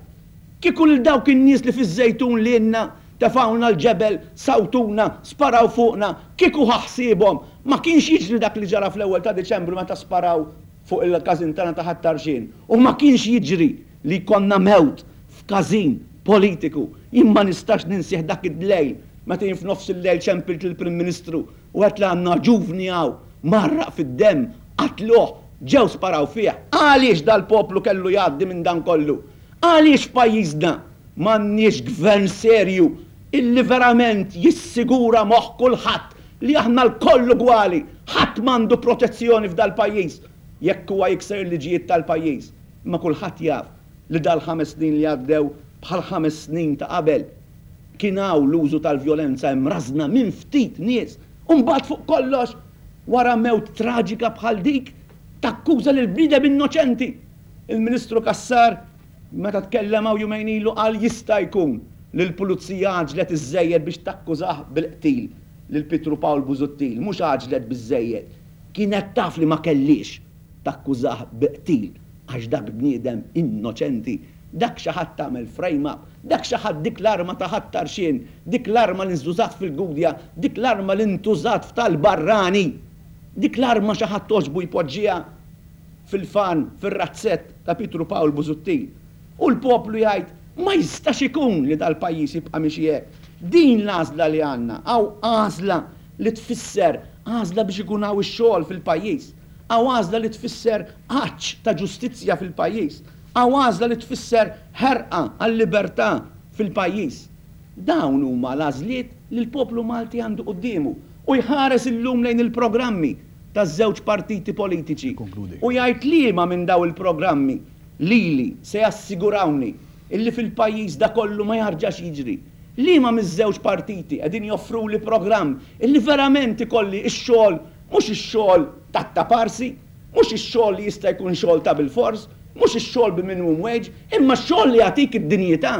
Kieku lil dawk in-nies li fiż-Żejtun lilna tefgħulna l-ġebel, sawtuna, sparaw fuqna, kieku ħa ħsiebhom, ma kienx jiġri dak li ġara fl-ewwel ta' Diċembru meta sparaw fuq il-każin tagħna ta' Ħat-Tarxien. U ma kienx jiġri li jkollna mewt f'każin politiku. Jien ma nistax ninsieh dak id-lejl meta jien f'nofs il-lejl ċempilt lill-Prim Ministru u għedt li għandna ġuvni hawn mgħarraq fid-demm, qatluh, ġew sparaw fih. Għaliex dal-poplu kellu jgħaddi minn dan kollu? Għaliex f'pajjiżna m'għandniex gvern serju illi verament jissigura moħħ kulħadd li aħna lkoll ugwali, ħadd m'għandu protezzjoni f'dal-pajjiż jekk huwa jikser il-liġijiet tal-pajjiż. Imma kulħadd jaf li dal-ħames snin li għaddew bħall-ħames snin ta' qabel kien hawn l-użu tal-vjolenza imrażżna minn ftit nies u mbagħad fuq kollox wara mewt traġika bħal dik takkuża lil bniedem innoċenti. Il-Ministru Cassar meta tkellem hawn jumejn ilu qal jista' jkun li l-Pulizija għaġġlet iżżejjed biex takkużah bil-qtil lil Pietru Pawl Busuttil. Mhux għaġġlet biżżejjed. Kienet taf li ma kellhiex takkużah bi qtil għax dak bniedem innoċenti. Dak xi ħadd għamel frame up. Dak xi ħadd dik l-arma ta' Ħat-Tarxien, dik l-arma li nżużat fil-Gudja, dik l-arma li ntużat f'tal-Barrani. Dik l-arma xi ħadd għoġbu jpoġġiha fil-farm, fir-razzett ta' Pietru Pawl Busuttil. U l-poplu jgħid, ma jistax ikun li dal-pajjiż jibqa' miexi hekk. Din l-għażla li għandna. Hawn għażla li tfisser għażla biex ikun hawn ix-xogħol fil-pajjiż. Hawn għażla li tfisser għatx ta' ġustizzja fil-pajjiż. Hawn għażla li tfisser ħerqa għal-libertà fil-pajjiż. Dawn huma l-għażliet li l-poplu Malti għandu quddiemu u jħares illum lejn il-programmi taż-żewġ partiti politiċi u jgħid liema minn dawn il-programmi. Lili se jassigurawni illi fil-pajjiż da kollu ma jarġax jiġri? Liema miż-żewġ partiti qegħdin joffruli programm illi verament ikolli x-xogħol mhux ix-xogħol tat-taparsi, mhux ix-xogħol li jista' jkun xogħol ta' bilfors, mhux ix-xogħol bi minimum wage, imma x-xogħol li jagħtik id-dinjità,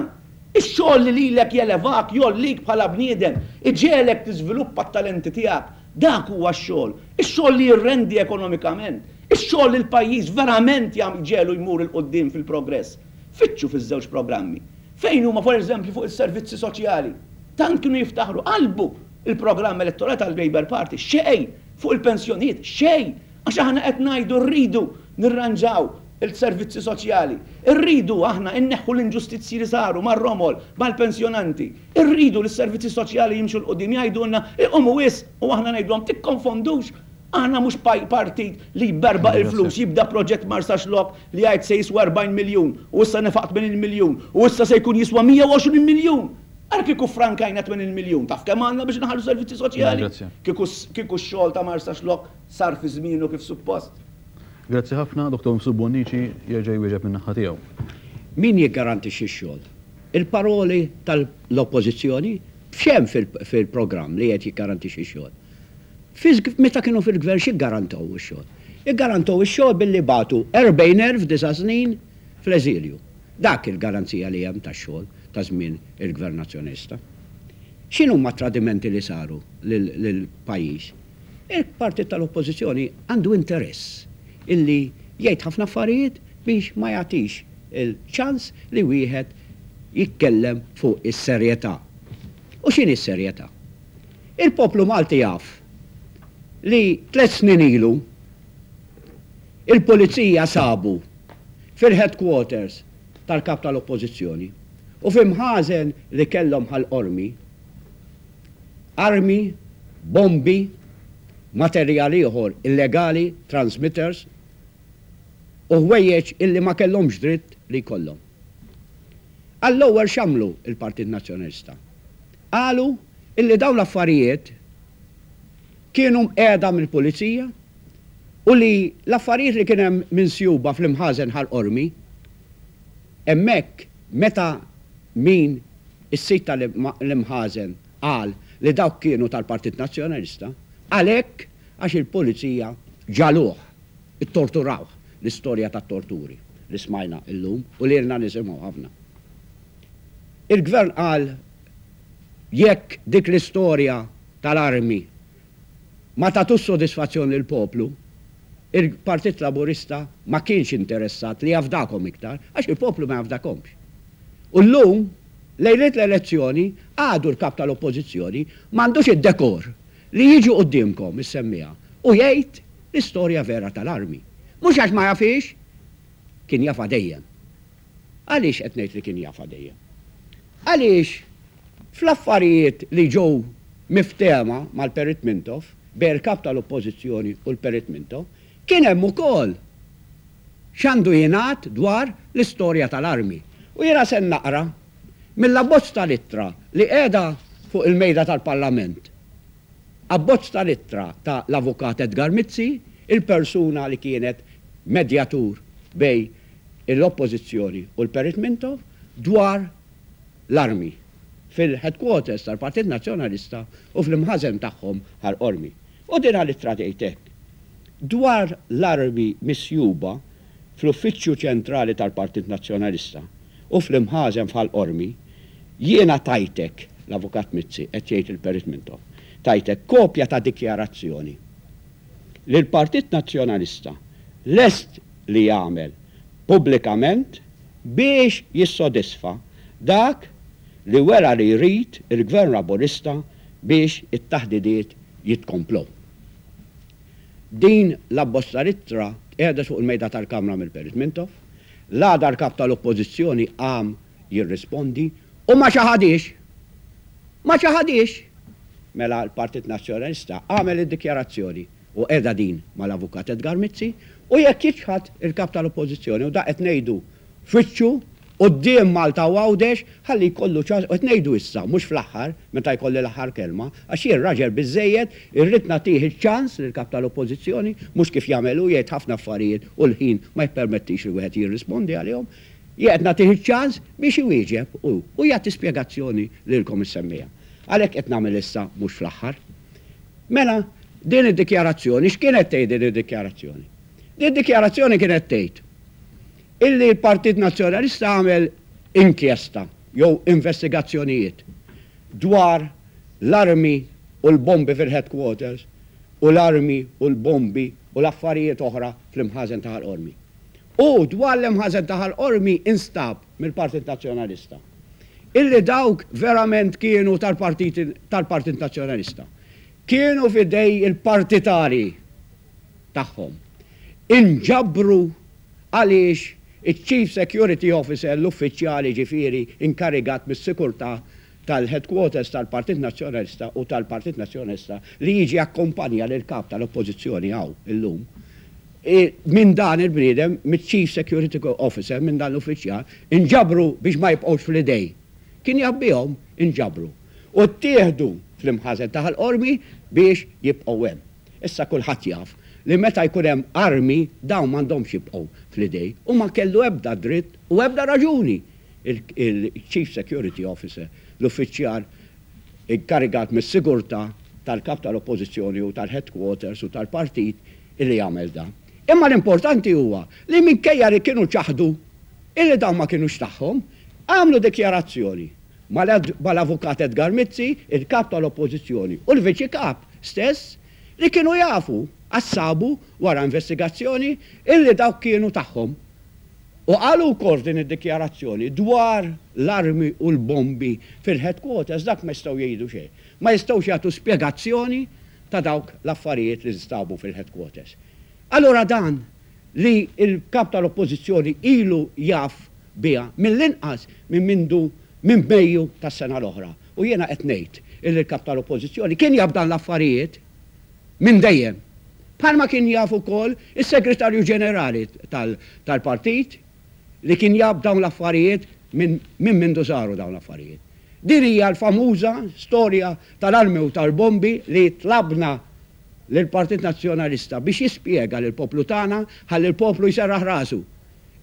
ix-xogħol li lilek jelevak, jgħollik bħala bniedem, iġegħlek tiżviluppa t-talenti tiegħek. Dak huwa x-xogħol. Ix-xogħol li jirrendi ekonomikament. Ix-xogħol li l-pajjiż verament jġegħlu jmur 'il quddiem fil-progress. Fittxu fiż-żewġ programmi. Fejn huma, for eżempju, fuq is-servizzi soċjali? Tant kienu jiftaħru, qalbu l-programm elettorali tal-Labour Party. Xejn! Fuq il-pensjonijiet, xejn! Għax aħna qed ngħidu rridu nirranġaw il-servizzi soċjali. Irridu aħna inneħħu l-inġustizzji li saru mar-romol, mal-pensjonanti. Irridu li s-servizzi soċjali jimxu 'l quddiem. Jgħidulna iqumu wisq u aħna ngħidulhom tikkonfondux. Aħna mhux partit li jberbaq il-flus, jibda proġett Marsaxlokk li jgħid se jiswa 40 miljun u issa nefaq 80 miljun u issa se jkun jiswa 120 miljun. Ara kieku ffrankajna 80 miljun, taf kemm għandna biex inħallu servizzi soċjali? Kieku kieku x-xogħol ta' Marsaxlokk sar fi żmienu kif suppost. Grazzi ħafna, Dottor Mifsud Bonnici jerġa' jwieġeb min-naħa tiegħu. Min jiggarantixxi x-xogħol? Il-paroli tal-Oppożizzjoni? X'hemm fil-programm li qed jiggarantixxi x-xogħol? Meta kienu fil-Gvern x'iggarantow ix-xogħol? Iggarantow ix-xogħol billi bagħtu 40,000 disa' snin fl-eżilju. Dak il-garanzija li hemm tax-xogħol ta' żmien il-Gvern Nazzjonalista. X'inhuma t-tradimenti li saru lill-pajjiż? Il-partit tal-Oppożizzjoni għandu interess illi jgħid ħafna affarijiet biex ma jagħtix il-ċans li wieħed jitkellem fuq is-serjetà. U x'inhi s-serjetà? Il-poplu Malti jaf li tlett snin ilu il-Pulizija sabu fil-headquarters tal-Kap tal-Oppożizzjoni u fi mħażen li kellhom Ħal Qormi armi, bombi, materjal ieħor illegali, transmitters, u ħwejjeġ illi ma kellhomx dritt li jkollhom. Għall-ewwel x'għamlu l-Partit Nazzjonalista? Qalu illi dawn l-affarijiet kienu mqiegħda mill-Pulizija u li l-affarijiet li kien hemm minsjuba fl-imħażen Ħal Qormi, hemmhekk meta min is-sid tal-imħażen qal li dawk kienu tal-Partit Nazzjonalista, għalhekk għax il-Pulizija ġagħluh, ittorturawh, l-istorja tat-torturi li smajna llum u li ilna nisimgħu ħafna. Il-Gvern qal jekk dik l-istorja tal-armi ma tagħtux sodisfazzjon lill-poplu, il-Partit Laburista ma kienx interessat li jafdakom iktar, għax il-poplu ma jafdakomx. U llum, lejliet l-elezzjoni, għadu l-Kap tal-Oppożizzjoni m'għandux id-dekor li jiġi quddiemkom is-semmiegħa u jgħid l-istorja vera tal-armi. Mhux għax ma jafhiex, kien jafha dejjem. Għaliex qed ngħid li kien jafha dejjem? Għaliex fl-affarijiet li ġew miftehma mal-Perit Mintoff, bejn il-Kap tal-Oppożizzjoni u l-Perit Mintoff, kien hemm ukoll x'għandu jingħad dwar l-istorja tal-armi. U jiena se naqra mill-abbozz tal-ittra li qiegħda fuq il-Mejda tal-Parlament. Abbozz tal-ittra ta' l-Avukat Edgar Mizzi, il-persuna li kienet medjatur bejn l-Oppożizzjoni u l-Perit Mintoff dwar l-armi fil-headquarters tal-Partit Nazzjonalista u fl-imħażen tagħhom Ħal Qormi. U din l-ittra tgħid hekk, Dwar l-armi misjuba fl-uffiċċju ċentrali tal-Partit Nazzjonalista u fl-imħażen f'Ħal Qormi, jiena tajtek, l-Avukat Mizzi qed jgħid il-Perit Mintoff, tajtek kopja ta' dikjarazzjoni li l-Partit Nazzjonalista lest li jagħmel pubblikament biex jissodisfa dak li wera li jrid il-Gvern Laburista biex it-taħdidiet jitkomplew. Din l-abbozz tal-ittra tqiegħdet fuq il-mejda tal-Kamra mill-Perit Mintoff. L-għada l-Kap tal-Oppożizzjoni qam jirrispondi u ma ċaħadhiex! Ma ċaħadhiex! Mela l-Partit Nazzjonalista għamel id-dikjarazzjoni u qiegħda din mal-Avukat Edgar Mizzi u jekk jiċħad il-Kap tal-Oppożizzjoni u da qed ngħidu f'wiċċu. quddiem Malta u Għawdex ħalli jkollu ċans, u qed ngħidu issa, mhux fl-aħħar, meta jkolli l-aħħar kelma, għax jien raġel biżżejjed, irrid nagħtih iċ-ċans lill-Kap tal-Oppożizzjoni, mhux kif jagħmel hu, jgħid ħafna affarijiet u l-ħin ma jippermettix li wieħed jirrispondi għalihom. Jien qed nagħtih iċ-ċans biex iwieġeb hu u jagħti spjegazzjoni lilkom is-semmiegħa. Għalhekk qed nagħmel issa mhux fl-aħħar. Mela, din id-dikjarazzjoni, x'kienet tgħid din id-dikjarazzjoni? Din id-dikjarazzjoni kienet tgħid illi l-Partit Nazzjonalista għamel inkjesta jew investigazzjonijiet dwar l-armi u l-bombi fil-headquarters u l-armi u l-bombi u l-affarijiet oħra fl-imħażen ta' Ħal Qormi. U dwar l-imħażen ta' Ħal Qormi instab mill-Partit Nazzjonalista illi dawk verament kienu tal-Partit tal-Partit Nazzjonalista. Kienu f'idej il-partitarji tagħhom. Inġabru għaliex iċ-Chief Security Officer, l-uffiċjal jiġifieri inkarigat mis-sikurtà tal-headquarters tal-Partit Nazzjonalista u tal-Partit Nazzjonalista li jiġi jakkumpanja lill-Kap tal-Oppożizzjoni hawn illum, minn dan il-bniedem, miċ-Chief Security Officer, minn dan l-uffiċjal, inġabru biex ma jibqgħux fl-idej. Kien jaf bihom, inġabru. U ttieħdu fl-imħażen ta' Ħal Qormi biex jibqgħu hemm. Issa kulħadd jaf li meta jkun hemm armi dawn m'għandhomx jibqgħu fl-idej u ma kellu ebda dritt u ebda raġuni il-Chief Security Officer, l-uffiċjal inkarigat mis-sigurtà tal-Kap tal-Oppożizzjoni u tal-headquarters u tal-partit illi jagħmel dan. Imma l-importanti huwa li minkejja li kienu ċaħdu illi dawn ma kinux tagħhom, għamlu dikjarazzjoni mal-Avukat Edgar Mizzi, il-Kap tal-Oppożizzjoni u l-Viċi Kap stess li kienu jafu, għax sabu wara investigazzjoni, illi dawk kienu tagħhom. U qalu wkoll f'din id-dikjarazzjoni dwar l-armi u l-bombi fil-headquarters dak ma jistgħu jgħidu xejn. Ma jistgħux jagħtu spjegazzjoni ta' dawk l-affarijiet li nstabu fil-headquarters. Allura dan li l-Kap tal-Oppożizzjoni ilu jaf biha mill-inqas minn mindu minn Mejju tas-sena l-oħra. U jiena qed ngħid illi l-Kap tal-Oppożizzjoni kien jaf dan l-affarijiet minn dejjem. Bħalma kien jaf ukoll is-Segretarju Ġenerali tal-partit li kien jaf dawn l-affarijiet minn minn mindu saru dawn l-affarijiet. Din hija l-famuża storja tal-armi u tal-bombi li tlabna lill-Partit Nazzjonalista biex jispjega lill-poplu tagħna ħalli l-poplu jserraħ rasu.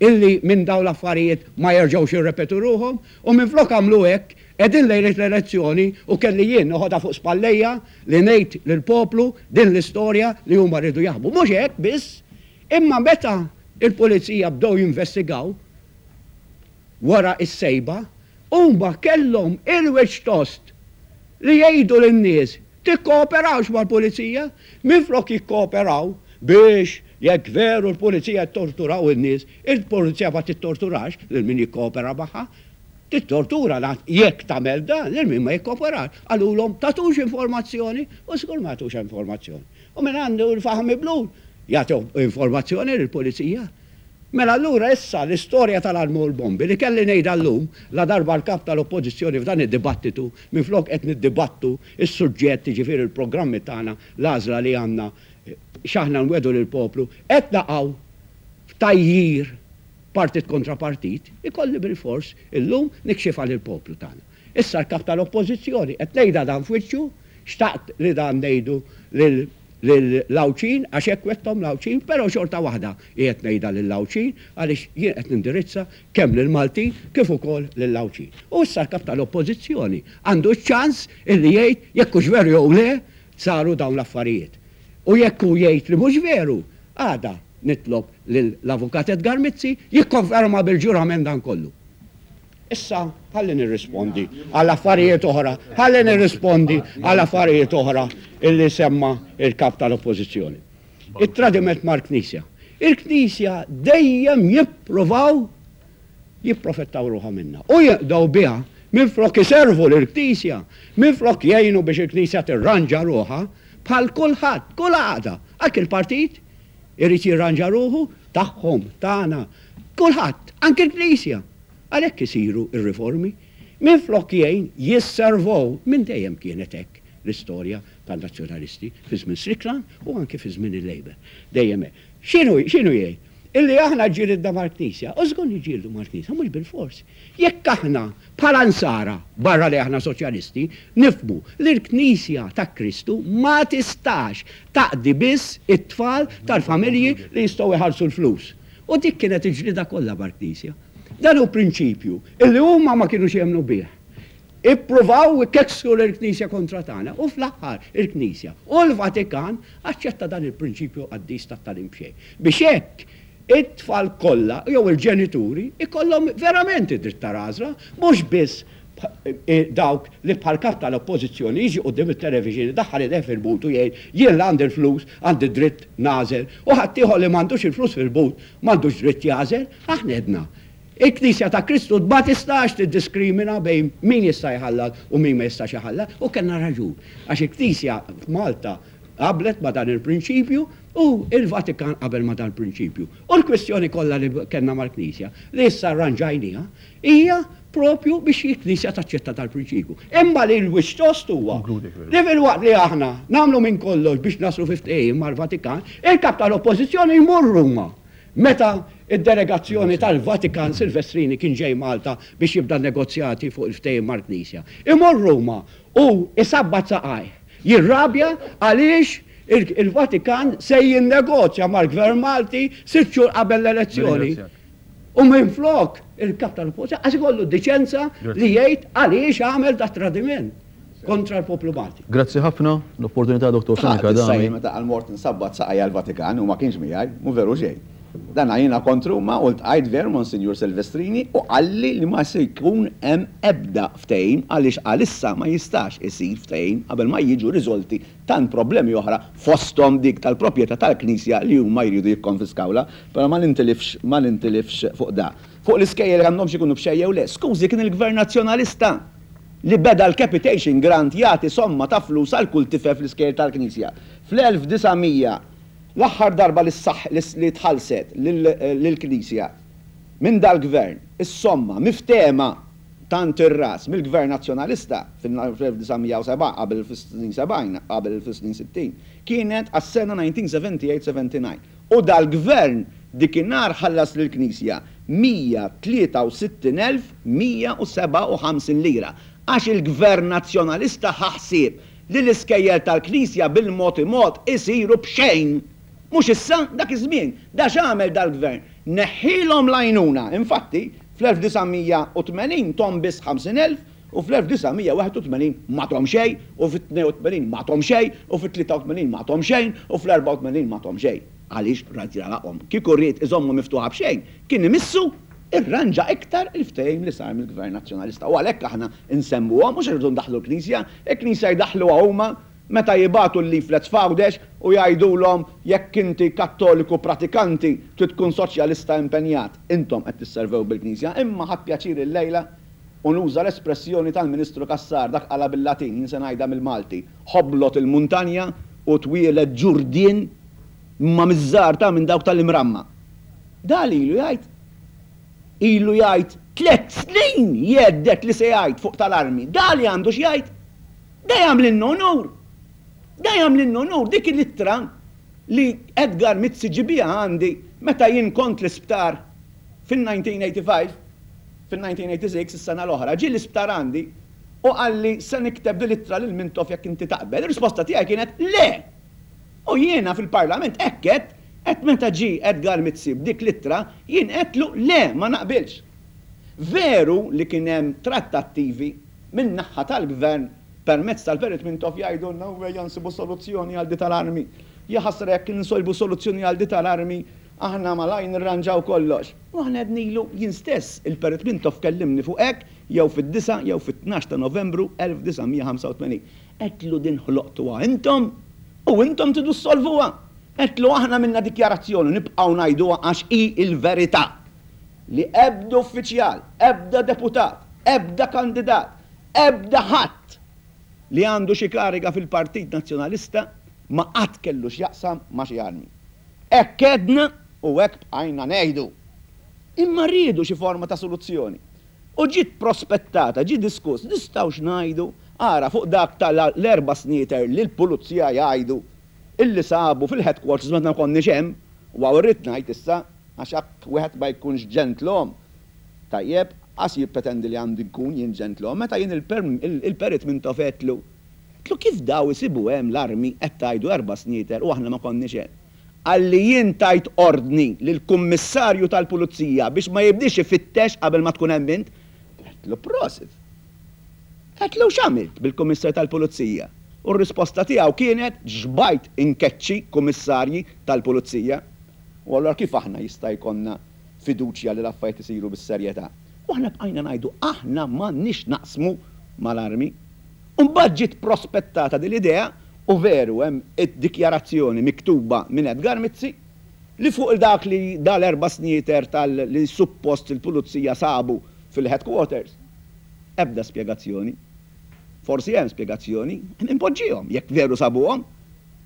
illi minn dawn l-affarijiet ma jerġgħux jirrepetu ruħhom u minflok għamlu hekk qegħdin lejliet l-elezzjoni u kelli jien noħodha fuq spallejja li ngħid lill-poplu din l-istorja li huma riedu jaħbu. Mhux hekk biss, imma meta l-pulizija bdew jinvestigaw wara s-sejba, huma kellhom il-wiċċ tost li jgħidu lin-nies Tikkooperawx mal-pulizija. Minflok jikkooperaw biex jekk veru l-pulizija jittorturaw in-nies, il-pulizija ma tittorturax lil min jikkoopera magħha. Tittortura jekk tagħmel dan lil min ma jikkooperax. Qalulhom tagħtux informazzjoni u żgur ma jagħtux informazzjoni. U min għandu l-faħam miblul jagħti informazzjoni lill-pulizija. Mela allura issa l-istorja tal-armi u l-bombi li kelli ngħidha llum, ladarba l-Kap tal-Oppożizzjoni f'dan id-dibattitu, minflok qed niddibattu s-suġġett, jiġifieri l-programmi tagħna, l-għażla li għandna, x'aħna nwegħdu lill-poplu, qed naqgħu f'tgħajjir partit kontra partit, ikolli bilfors illum nikxifha lill-poplu tagħna. Issa l-Kap tal-Oppożizzjoni, qed ngħidha dan f'wiċċu, xtaqt li dan ngħidu lil lill-Għawdxin għax hekk wegħdthom l-Għawdxin, però xorta waħda qiegħed ngħidha lill-Għawdxin għaliex jien qed nindirizza kemm lill-Maltin kif ukoll lill-Għawdxin. U issa l-Kap tal-Oppożizzjoni għandu ċ-ċans illi jgħid jekk hux veru jew le saru dawn l-affarijiet. U jekk hu jgħid li mhux veru, għada nitlob lill-Avukat Edgar Mizzi jikkonferma bil-ġurament dan kollu. Issa ħalli nirrispondi għal affarijiet oħra, ħalli nirrispondi għal affarijiet oħra illi semma il-kap tal-Oppożizzjoni. It-tradiment mal-Knisja. Il-Knisja dejjem jippruvaw jipprofettaw ruħha minnha u jinqdew biha minflok iservu lill-Knisja, minflok jgħinu biex il-Knisja tirranġa ruħha bħal kulħadd, kull għaqda, anki l-partit irid jirranġa ruħu, tagħhom, tagħna, kulħadd, anki l-Knisja. Għalhekk isiru r-riformi. Minflok jgħin, jisservow. Minn dejjem kienet hekk l-istorja tan-Nazzjonalisti fi żmien Strickland u anki fi żmien il-Labour. Dejjem hekk. X'inhu x'inhu jgħid? illi aħna ġġilidna mal-Knisja, u żgur niġġieldu mal-Knisja, mhux bilfors. Jekk aħna, bħala Nsara, barra li aħna Soċjalisti, nifhmu li l-Knisja ta' Kristu ma tistax taqdi biss it-tfal tal-familji li jistgħu jħallsu l-flus. U dik kienet il-ġlieda kollha mal-Knisja. Dan hu prinċipju illi huma ma kinux jemmnu bih. Ippruvaw ikeksru lill-Knisja kontra tagħna u fl-aħħar il-Knisja u l-Vatikan aċċetta dan il-prinċipju qaddis tat-tagħlim b'xejn. Biex hekk it-tfal kollha jew il-ġenituri jkollhom verament id-dritt tal-għażla, mhux biss dawk li bħal kap tal-Oppożizzjoni jiġi quddiem it-television idaħħal idejh fil-but u jgħid jien li għandi l-flus għandi dritt nagħżel u ħaddieħor li m'għandux il-flus fil-but m'għandux dritt jagħżel. Aħna għedna, il-Knisja ta' Kristu ma tistax tiddiskrimina bejn min jista' jħallas u min ma jistax iħallas u kellna raġun għax il-Knisja f'Malta qablet ma' dan il-prinċipju u l-Vatikan qabel ma' dan il-prinċipju. U l-kwistjoni kollha li kellna mal-Knisja li issa rranġajniha hija propju biex il-Knisja taċċetta dal-prinċipju. Imma li l-wiċċ tost huwa li filwaqt li aħna nagħmlu minn kollox biex naslu fi ftehim mal-Vatikan, il-Kap tal-Oppożizzjoni jmur Ruma meta d-delegazzjoni tal-Vatikan Silvestrini kien ġej Malta biex jibda n-negozjati fuq il-ftehim mal-Knisja. Imur Ruma u jsabbat saqajh, jirrabja għaliex il-Vatikan se jinnegozja mal-Gvern Malti sitt xhur qabel l-elezzjoni. U minflok il-kap tal-Oppożizzjoni qas ikollu d-diċenza li jgħid għaliex għamel dat-tradiment kontra l-poplu Malti. Grazzi ħafna l-opportunità Dottor Fenech Issa Adami. jien meta qal mort insabbat saqajja l-Vatikan u ma kienx miegħi, mhu veru xejn. Dan jiena kont Ruma u ltqajt veru Monsinjur Silvestrini u qalli li ma se jkun hemm ebda ftehim għaliex għalissa ma jistax isir ftehim qabel ma jiġu riżolti tant problemi oħra fosthom dik tal-proprjetà tal-Knisja li huma jridu jikkonfiskawlha. Però ma nintilifx ma nintilifx fuq da. Fuq l-iskejjel jekk għandhomx ikunu b'xejn jew le. Skużi kien il-Gvern Nazzjonalista li beda l-capitation grant jagħti somma ta' flus għal kull tifel fl-iskejjel tal-Knisja. Fl-1900 l-aħħar darba li ssaħ li tħallset lill-Knisja minn dal-Gvern is-somma miftehma tant ir-ras mill-Gvern Nazzjonalista fil-1907 qabel fis-snin 70 qabel fis-snin 60 kienet għas-sena 1978 79. U dal-Gvern dikinhar ħallas lill-Knisja 163,157 lira. Għax il-Gvern Nazzjonalista ħa ħsieb li l-iskejjel tal-Knisja bil-mod imod isiru b'xejn! Mhux issa, dak iż-żmien. Da x'għamel dal-Gvern? Neħħielhom l-għajnuna. Infatti, fl-1980 thom biss 50,000 u fl-1981 ma thom xejn u fit-82 ma thom xejn u fit-83 ma thom xejn u fl-84 ma thom xejn. Għaliex ried jagħlaqhom. Kieku ried iżommhom miftuħa b'xejn, kien imissu irranġa iktar il-ftehim li sar mill-Gvern Nazzjonalista. U għalhekk aħna nsemmuhom, mhux għax irridu ndaħħlu l-Knisja, il-Knisja jdaħħluha huma meta jibagħtu l-leaflets f'Għawdex u jgħidulhom jekk inti Kattoliku pratikanti trid tkun soċjalista impenjat. Intom qed tisservew bil-Knisja. Imma ħadt pjaċir illejla u nuża l-espressjoni tal-Ministru Cassar, dak qalha bil-Latin, jien se ngħidha mill-Malti, ħoblot il-muntanja u twieled ġurdien imma miż-żgħar ta' minn dawk tal-imramma. Da li ilu jgħid? Ilu jgħid tlett snin jgħedded li se jgħid fuq tal-armi. Da li għandu x'jgħid? Da jagħmlilna unur! Da jagħmlilna unur! Dik l-ittra li Edgar Mizzi ġie biha għandi meta jien kont l-isptar fil-1985, fil-1986, is-sena l-oħra, ġie l-isptar għandi u qalli se nikteb din l-ittra lil Mintoff jekk inti taqbel. Ir-risposta tiegħi kienet le! U jiena fil-Parlament hekk għedt, għedt meta ġie Edgar Mizzi b'dik l-ittra, jien għedtlu le ma naqbilx. Veru li kien hemm trattattivi min-naħa tal-Gvern permezz tal-Perit Mintoff jgħidulna u ejja nsibu soluzzjoni għal di tal-armi. Jaħasra jekk insolbu soluzzjoni għal di tal-armi aħna malajr nirranġaw kollox. U aħna għednilu, jien stess, il-Perit Mintoff kellimni fuq hekk jew fid-disgħa jew fit-tnax ta' Novembru 1985. Għedtlu din ħloqtuha intom u intom tridu ssolvuha. Għedtlu aħna għamilna dikjarazzjoni u nibqgħu ngħiduha għax hi l-verità li ebda uffiċjal, ebda deputat, ebda kandidat, ebda ħadd li għandu xi kariga fil-Partit Nazzjonalista ma qatt kellu x'jaqsam ma' xi armi. Hekk għedna u hekk bqajna ngħidu. Imma riedu xi forma ta' soluzzjoni. U ġiet prospettata, ġie diskuss, nistgħux ngħidu, ara fuq dak ta' l-erba' snieter li l-pulizija jgħidu illi sabu fil-headquarters meta ma konniex hemm, u hawn irrid ngħid issa. Għax jekk wieħed ma jkunx ġentlom, tajjeb, qas jippretendi li għandi nkun jien ġentlom. Meta jien il-Perit Mintoff għedtlu, għedtlu kif daw isibu hemm l-armi qed tgħidu erba' snieter u aħna ma konniex hemm. Qalli jien tajt ordni lill-Kummissarju tal-Pulizija biex ma jibdiex ifittex qabel ma tkun hemm int. Għedtlu prosit. Għedtlu x'għamilt bil-Kummissarju tal-Pulizija? U r-risposta tiegħu kienet xbajt inkeċċi Kummissarji tal-Pulizija. U allura kif aħna jista' jkollna fiduċja li l-affarijiet isiru bis-serjetà? U aħna bqajna ngħidu aħna m'għandniex x'naqsmu mal-armi. U mbagħad ġiet prospettata din l-idea u veru hemm id-dikjarazzjoni miktuba minn Edgar Mizzi li fuq dak li dal-erba' snieter tal li suppost il-pulizija sabu fil-headquarters. Ebda spjegazzjoni. Forsi hemm spjegazzjoni, inpoġġihom jekk veru sabuhom.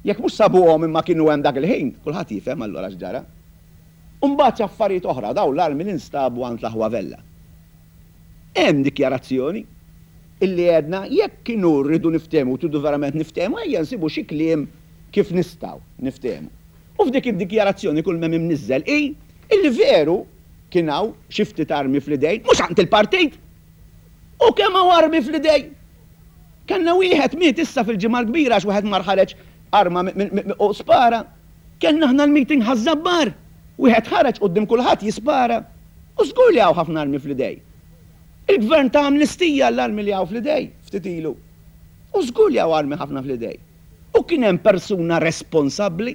Jekk mhux sabuhom imma kienu hemm dak il-ħin, kulħadd jifhem allura x'ġara. U mbagħad xi affarijiet oħra, dawn l-armi li nstabu għand l-aħwa Vella. Hemm dikjarazzjoni illi għedna jekk kienu rridu niftehmu u tridu verament niftehmu ejja nsibu xi kliem kif nistgħu niftehmu. U f'dik id-dikjarazzjoni kull m'hemm imniżżel hi illi veru kien hawn xi ftit armi fl-idejn, mhux għand il-partit! U kemm hawn armi fl-idejn! Kellna wieħed miet issa fil-Ġimgħa l-Kbira għax wieħed mar ħareġ arma u spara. Kellna aħna l-meeting Ħaż-Żabbar! Wieħed ħareġ quddiem kulħadd jispara. U żgur li hawn ħafna armi fl-idej. Il-Gvern ta amnistija għall-armi li hawn fl-idej ftit ilu. U żgur li hawn armi ħafna fl-idej. U kien hemm persuna responsabbli,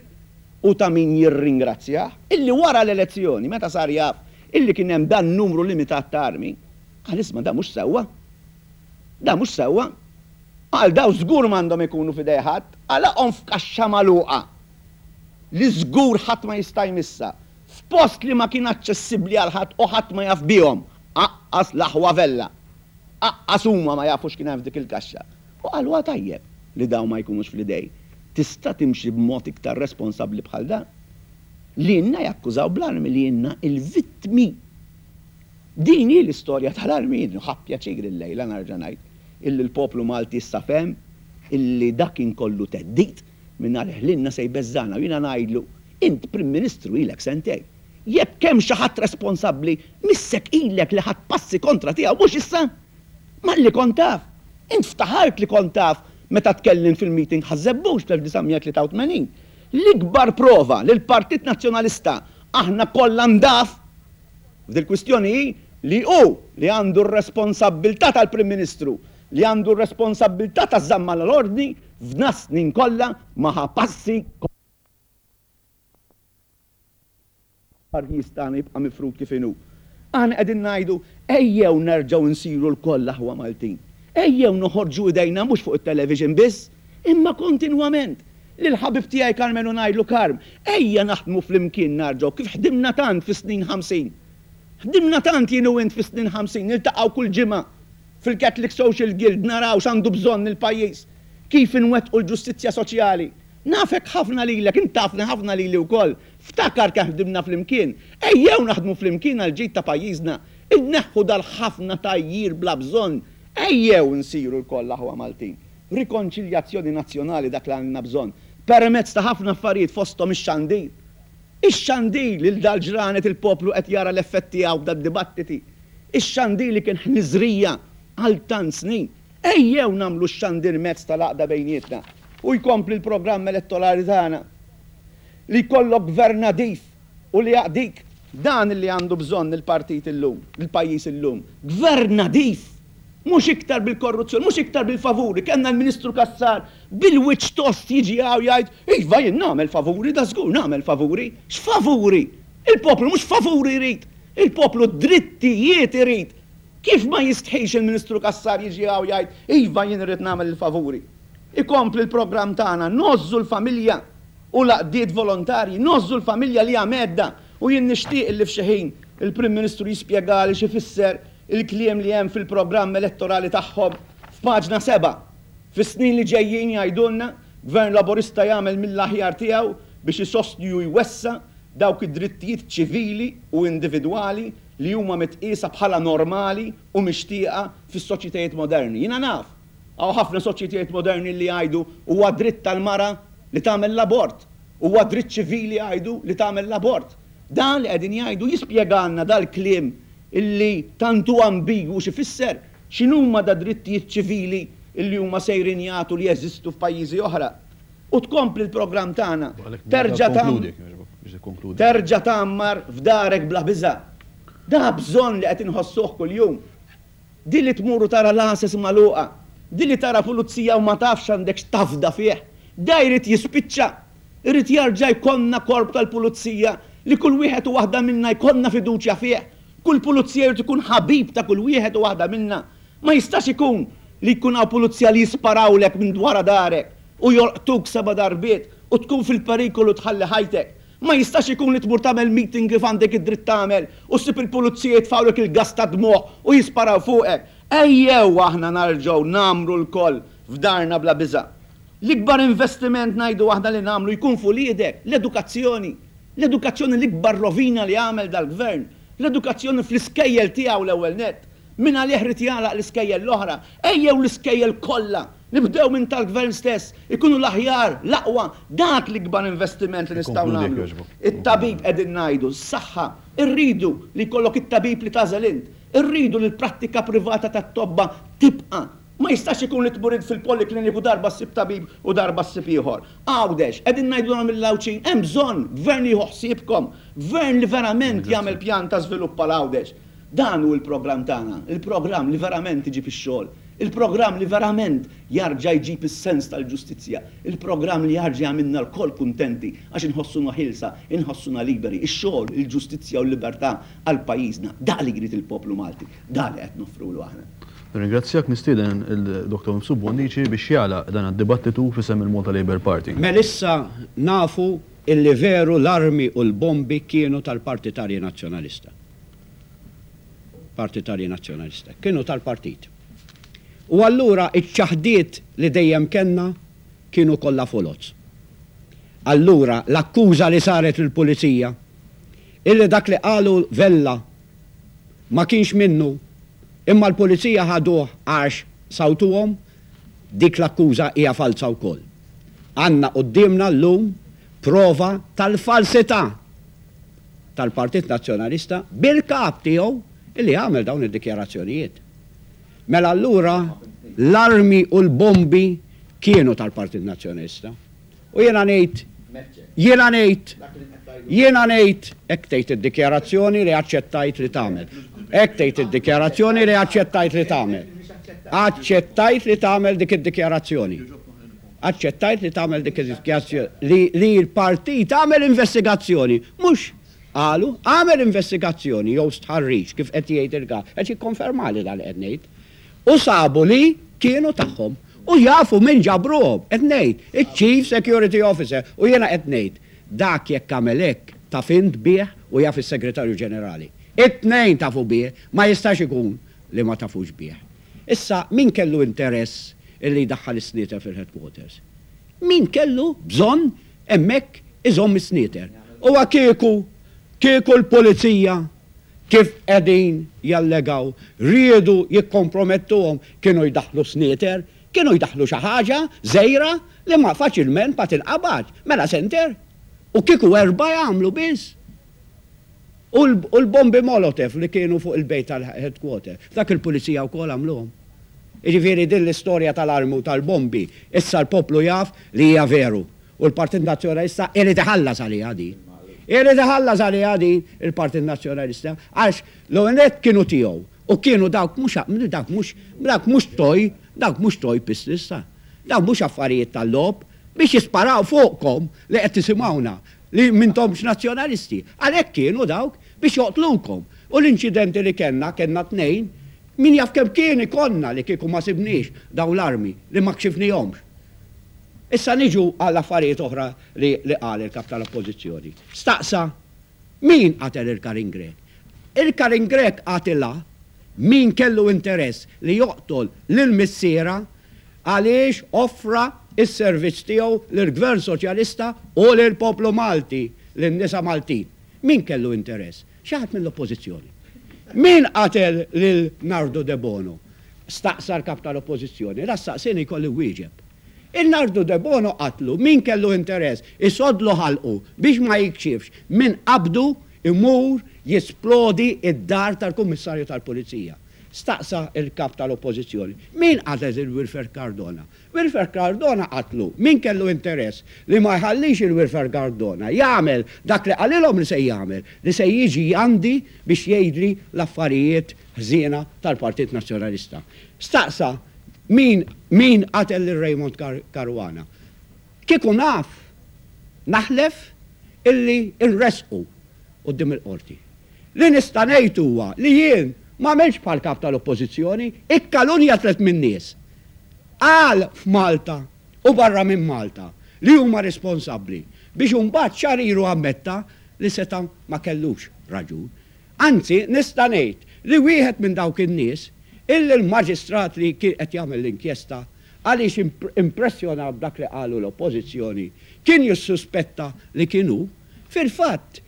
u ta' min jirringrazzjah, illi wara l-elezzjoni, meta sar jaf illi kien hemm dan numru limitat ta' armi, qal isma' dan mhux sewwa. Dan mhux sewwa. Qal dawn żgur m'għandhom ikunu f'idej ħadd, għalaqhom f'kaxxa magħluqa li żgur ħadd ma jista' jmissha, f'post li ma kien aċċessibbli għal ħadd u ħadd ma jaf bihom, aqqas l-aħwa Vella. Aqqas huma ma jafu x'kien hemm f'dik il-kaxxa. U qal huwa tajjeb li dawn ma jkunux fl-idej. Tista' timxi b'mod iktar responsabbli bħal dan? Lilna jakkużaw bl-armi, lilna il-vittmi. Din hi l-istorja tal-armi. Jien ħadt pjaċir illejla nerġa' ngħid illi l-poplu Malti issa fehem illi dak kien kollu theddid mingħalih lilna se jbeżżagħna u jiena ngħidlu int Prim Ministru ilek sentejn. Jekk hemm xi ħadd responsabbli missek ilek li ħadt passi kontra tiegħu mhux issa. Malli kont taf. Int ftaħart li kont taf meta tkellimt fil-meeting Ħaż-Żebbuġ fl-1983. L-ikbar prova li l-Partit Nazzjonalista aħna kollha ndaf f'dil-kwistjoni hi li hu li għandu r-responsabbiltà tal-Prim Ministru, li għandu r-responsabbiltà taż-żamma l-ordni f'dnas-snin kollha ma ħa passi Pajjiż tagħna jibqa' mifrud kif inhu. Aħna qegħdin ngħidu, ejjew nerġgħu nsiru lkoll aħwa Maltin. Ejjew noħorġu idejna mhux fuq it-television biss, imma kontinwament. Lill-ħabib tiegħi Karmenu ngħidlu, Karm, ejja naħdmu flimkien narġgħu kif ħdimna tant fis-snin 50. Ħdimna tant jien u int fis-snin 50, niltaqgħu kull ġimgħa fil-Catholic Social Guild naraw x'għandu bżonn il-pajjiż, kif inwettqu l-ġustizzja soċjali. Nafek ħafna lilek, int tafni ħafna lili wkoll. Ftakar kemm ħdimna flimkien. Ejjew naħdmu flimkien għall-ġid ta' pajjiżna. Inneħħu dal-ħafna tgħajjir bla bżonn. Ejjew insiru lkoll aħwa Maltin. Rikonċiljazzjoni nazzjonali dak li għandna bżonn. Permezz ta' ħafna affarijiet fosthom ix-xandir. Ix-xandir li dal-ġranet il-poplu qed jara l-effett tiegħu f'dad-dibattiti. Ix-xandir li kien ħniżrija għal tant snin. Ejjew nagħmlu x-xandir mezz tal-għaqda bejnietna u jkompli l-programm elettorali tagħna. Li jkollok gvern nadif u li jaqdik. Dan li għandu bżonn il-partit illum, il-pajjiż illum. Gvern nadif! Mhux iktar bil-korruzzjoni, mhux iktar bil-favuri. Kellna l-Ministru Cassar bil-wiċċ tost jiġi hawn jgħid, iva jien nagħmel favuri, dażgur nagħmel favuri. X'favuri? Il-poplu mhux favuri jrid! Il-poplu drittijiet irid! Kif ma jistħix il-Ministru Cassar jiġi hawn jgħid, iva jien irrid nagħmel il-favuri. Ikompli l-programm tagħna, ngħożżu l-familja u l-għaqdiet volontarji, ngħożżu l-familja li hija mhedda u jien nixtieq illi f'xi ħin il-Prim Ministru jispjegali x'ifisser il-kliem li hemm fil-programm elettorali tagħhom f'paġna 7. Fis-snin li ġejjin jgħidulna, Gvern Laburista jagħmel mill-aħjar tiegħu biex isostni u jwessa' dawk id-drittijiet ċivili u individwali li huma mitqiesa bħala normali u mixtieqa fis-soċjetajiet moderni. Jiena naf, hawn ħafna soċjetajiet moderni li jgħidu huwa dritt tal-mara li tagħmel l-abort, huwa dritt ċivili jgħidu li tagħmel l-abort. Dan li qegħdin jgħidu jispjegalna dal-kliem illi tant hu ambigwu x'ifisser, x'inhuma dad-drittijiet ċivili illi huma sejrin jagħtu li jeżistu f'pajjiżi oħra. U tkompli l-programm tagħna, terġa' terġa' tgħammar f'darek bla biża'. Da bżonn li qed inħossuh kuljum. Din li tmur u tara l-għases magħluqa, din li tara pulizija u ma tafx għandekx tafda fih, da jrid jispiċċa. Irid jerġa' jkollna korp tal-pulizija li kull wieħed u waħda minna jkollna fiduċja fih. Kull pulizija jrid ikun ħabib ta' kull wieħed u waħda minna. Ma jistax ikun li jkun hawn pulizija li jisparawlek minn wara darek u jolqtuk seba' darbiet u tkun fil-perikolu tħalli ħajtek. Ma jistax ikun li tmur tagħmel meeting kif għandek id-dritt tagħmel u ssib il-pulizija jitfgħulek il-gass tad-dmugħ u jisparaw fuqek. Ejjew aħna narġgħu ngħammru lkoll f'darna bla biża'. L-ikbar investiment ngħidu aħna li nagħmlu jkun f'uliedek, l-edukazzjoni. L-edukazzjoni l-ikbar rovina li għamel dal-Gvern. L-edukazzjoni fl-iskejjel tiegħu l-ewwel nett. Min għalih ried jagħlaq l-iskejjel l-oħra. Ejjew l-iskejjel kollha, nibdew minn tal-Gvern stess, ikunu l-aħjar, l-aqwa. Dak l-ikbar investiment li nistgħu nagħmlu. It-tabib qegħdin ngħidu, s-saħħa. Irridu li jkollok it-tabib li tagħżel int. Irridu li l-prattika privata tat-tobba tibqa'. Ma jistax ikun li tmur int fil-poliklinik u darba ssib tabib u darba ssib ieħor. Għawdex, qegħdin ngħidulhom lill-Għawdxin, hemm bżonn Gvern li jieħu ħsiebkom, Gvern li verament jagħmel pjan ta' żvilupp għal Għawdex. Dan hu l-programm tagħna, il-programm li verament iġib ix-xogħol, il-programm li verament jarġa' jġib is-sens tal-ġustizzja, il-programm li jarġa' jagħmilna lkoll kuntenti għax inħossuna ħielsa, inħossuna liberi, ix-xogħol, il-ġustizzja u l-libertà għal pajjiżna. Dak li jrid il-poplu Malti, dak li qed noffrulu aħna. Nirringrazzjak, nistieden il-Dottor Mifsud Bonnici biex jagħlaq dan id-dibattitu f'isem il-Malta Labour Party. Melissa nafu illi veru l-armi u l-bombi kienu tal-Partitarji Nazzjonalista. Partitarji Nazzjonalista. Kienu tal-partit. U allura iċ-ċaħdiet li dejjem kellna kienu kollha foloz. Allura l-akkuża li saret lill-Pulizija illi dak li qalu Vella ma kienx minnu imma l-Pulizija ħaduh għax sawtuhom, dik l-akkuża hija falza wkoll. Għandna quddiemna llum prova tal-falsità tal-Partit Nazzjonalista bil-Kap tiegħu illi għamel dawn id-dikjarazzjonijiet. Mela allura l-armi u l-bombi kienu tal-Partit Nazzjonalista. U jiena ngħid, jiena ngħid, jiena ngħid, hekk tgħid id-dikjarazzjoni li aċċettajt li tagħmel. Hekk tgħid id-dikjarazzjoni li aċċettajt li tagħmel. Aċċettajt li tagħmel dik id-dikjarazzjoni. Aċċettajt li tagħmel dik id-dikjarazzjoni li li l-partit għamel investigazzjoni, mhux qalu, għamel investigazzjoni jew stħarriġ kif qed jgħid il-kap, qed jikkonfermali dan li qed ngħid. U sabu li kienu tagħhom. U jafu min ġabruhom, qed ngħid, iċ-Chief Security Officer, u jiena qed ngħid, dak jekk għamel hekk taf int bih u jaf is-Segretarju Ġenerali. It-tnejn tafu bih, ma jistax ikun li ma tafux bih. Issa min kellu interess illi jdaħħal is-snieter fil-headquarters? Min kellu bżonn hemmhekk iżomm is-snieter? Huwa kieku, kieku l-pulizija kif qegħdin jallegaw, riedu jikkompromettuhom kienu jdaħħlu snieter, kienu jdaħħlu xi ħaġa żgħira li ma faċilment ma tinqabadx. Mela senter? U kieku erbgħa jagħmlu biss. U l-bombi Molotov li kienu fuq il-bejt tal-headquarter, dak il-pulizija wkoll għamluhom. Jiġifieri din l-istorja tal-armi u tal-bombi issa l-poplu jaf li hija veru. U l-Partit Nazzjonalista irid iħallas għaliha din. Irid iħallas għaliha din il-Partit Nazzjonalista għax l-ewwel nett kienu tiegħu u kienu dawk mhux dawk mhux dawk mhux toy, dawk mhux toy pistols ta'. Dawk mhux affarijiet tal-logħob biex jisparaw fuqkom li qed tisimgħuna li m'intomx Nazzjonalisti. Għalhekk kienu dawk biex joqtlukom. U l-inċidenti li kellna, kellna tnejn, min jaf kemm kien ikollna li kieku ma sibniex dawn l-armi li ma kxifnihomx. Issa niġu għal affarijiet oħra li li qal il-Kap tal-Oppożizzjoni. Staqsa min qatel il Karin Grech. Il Karin Grech qatilha min kellu interess li joqtol lil missierha għaliex offra s-servizz tiegħu lill-Gvern Soċjalista u lill-poplu Malti, lin-nisa Maltin. Min kellu interess? Xi ħadd mill-Oppożizzjoni. Min qatel lil Nardu Debono? Staqsa l-Kap tal-Oppożizzjoni. La staqsieni jkolli nwieġeb. Il Nardu Debono qatlu min kellu interess isoddlu ħalqu biex ma jikxifx min qabdu. imur jisplodi d-dar tal-Kummissarju tal-Pulizija. Staqsa l-Kap tal-Oppożizzjoni, min qatel lil Wilfred Cardona? Wilfred Cardona qatlu min kellu interess li ma jħallix il Wilfred Cardona jagħmel dak li qalilhom li se jagħmel, li se jiġi għandi biex jgħidli l-affarijiet ħżiena tal-Partit Nazzjonalista. Staqsa min min qatel lil Raymond Caruana. Kieku naf, naħlef illi nressqu quddiem il-Qorti. Li nista' ngħid huwa li jien m'għamiltx bħall-Kap tal-Oppożizzjoni, ikkalunja tlett min-nies. Qal f'Malta u barra minn Malta li huma responsabbli biex imbagħad xahar ilu ammetta li seta' ma kellux raġun. Anzi nista' ngħid li wieħed minn dawk in-nies illi l-Maġistrat li kien qed jagħmel l-inkjesta għaliex impressjonat b'dak li qalu l-Oppożizzjoni kien jissuspetta li kien hu, fil-fatt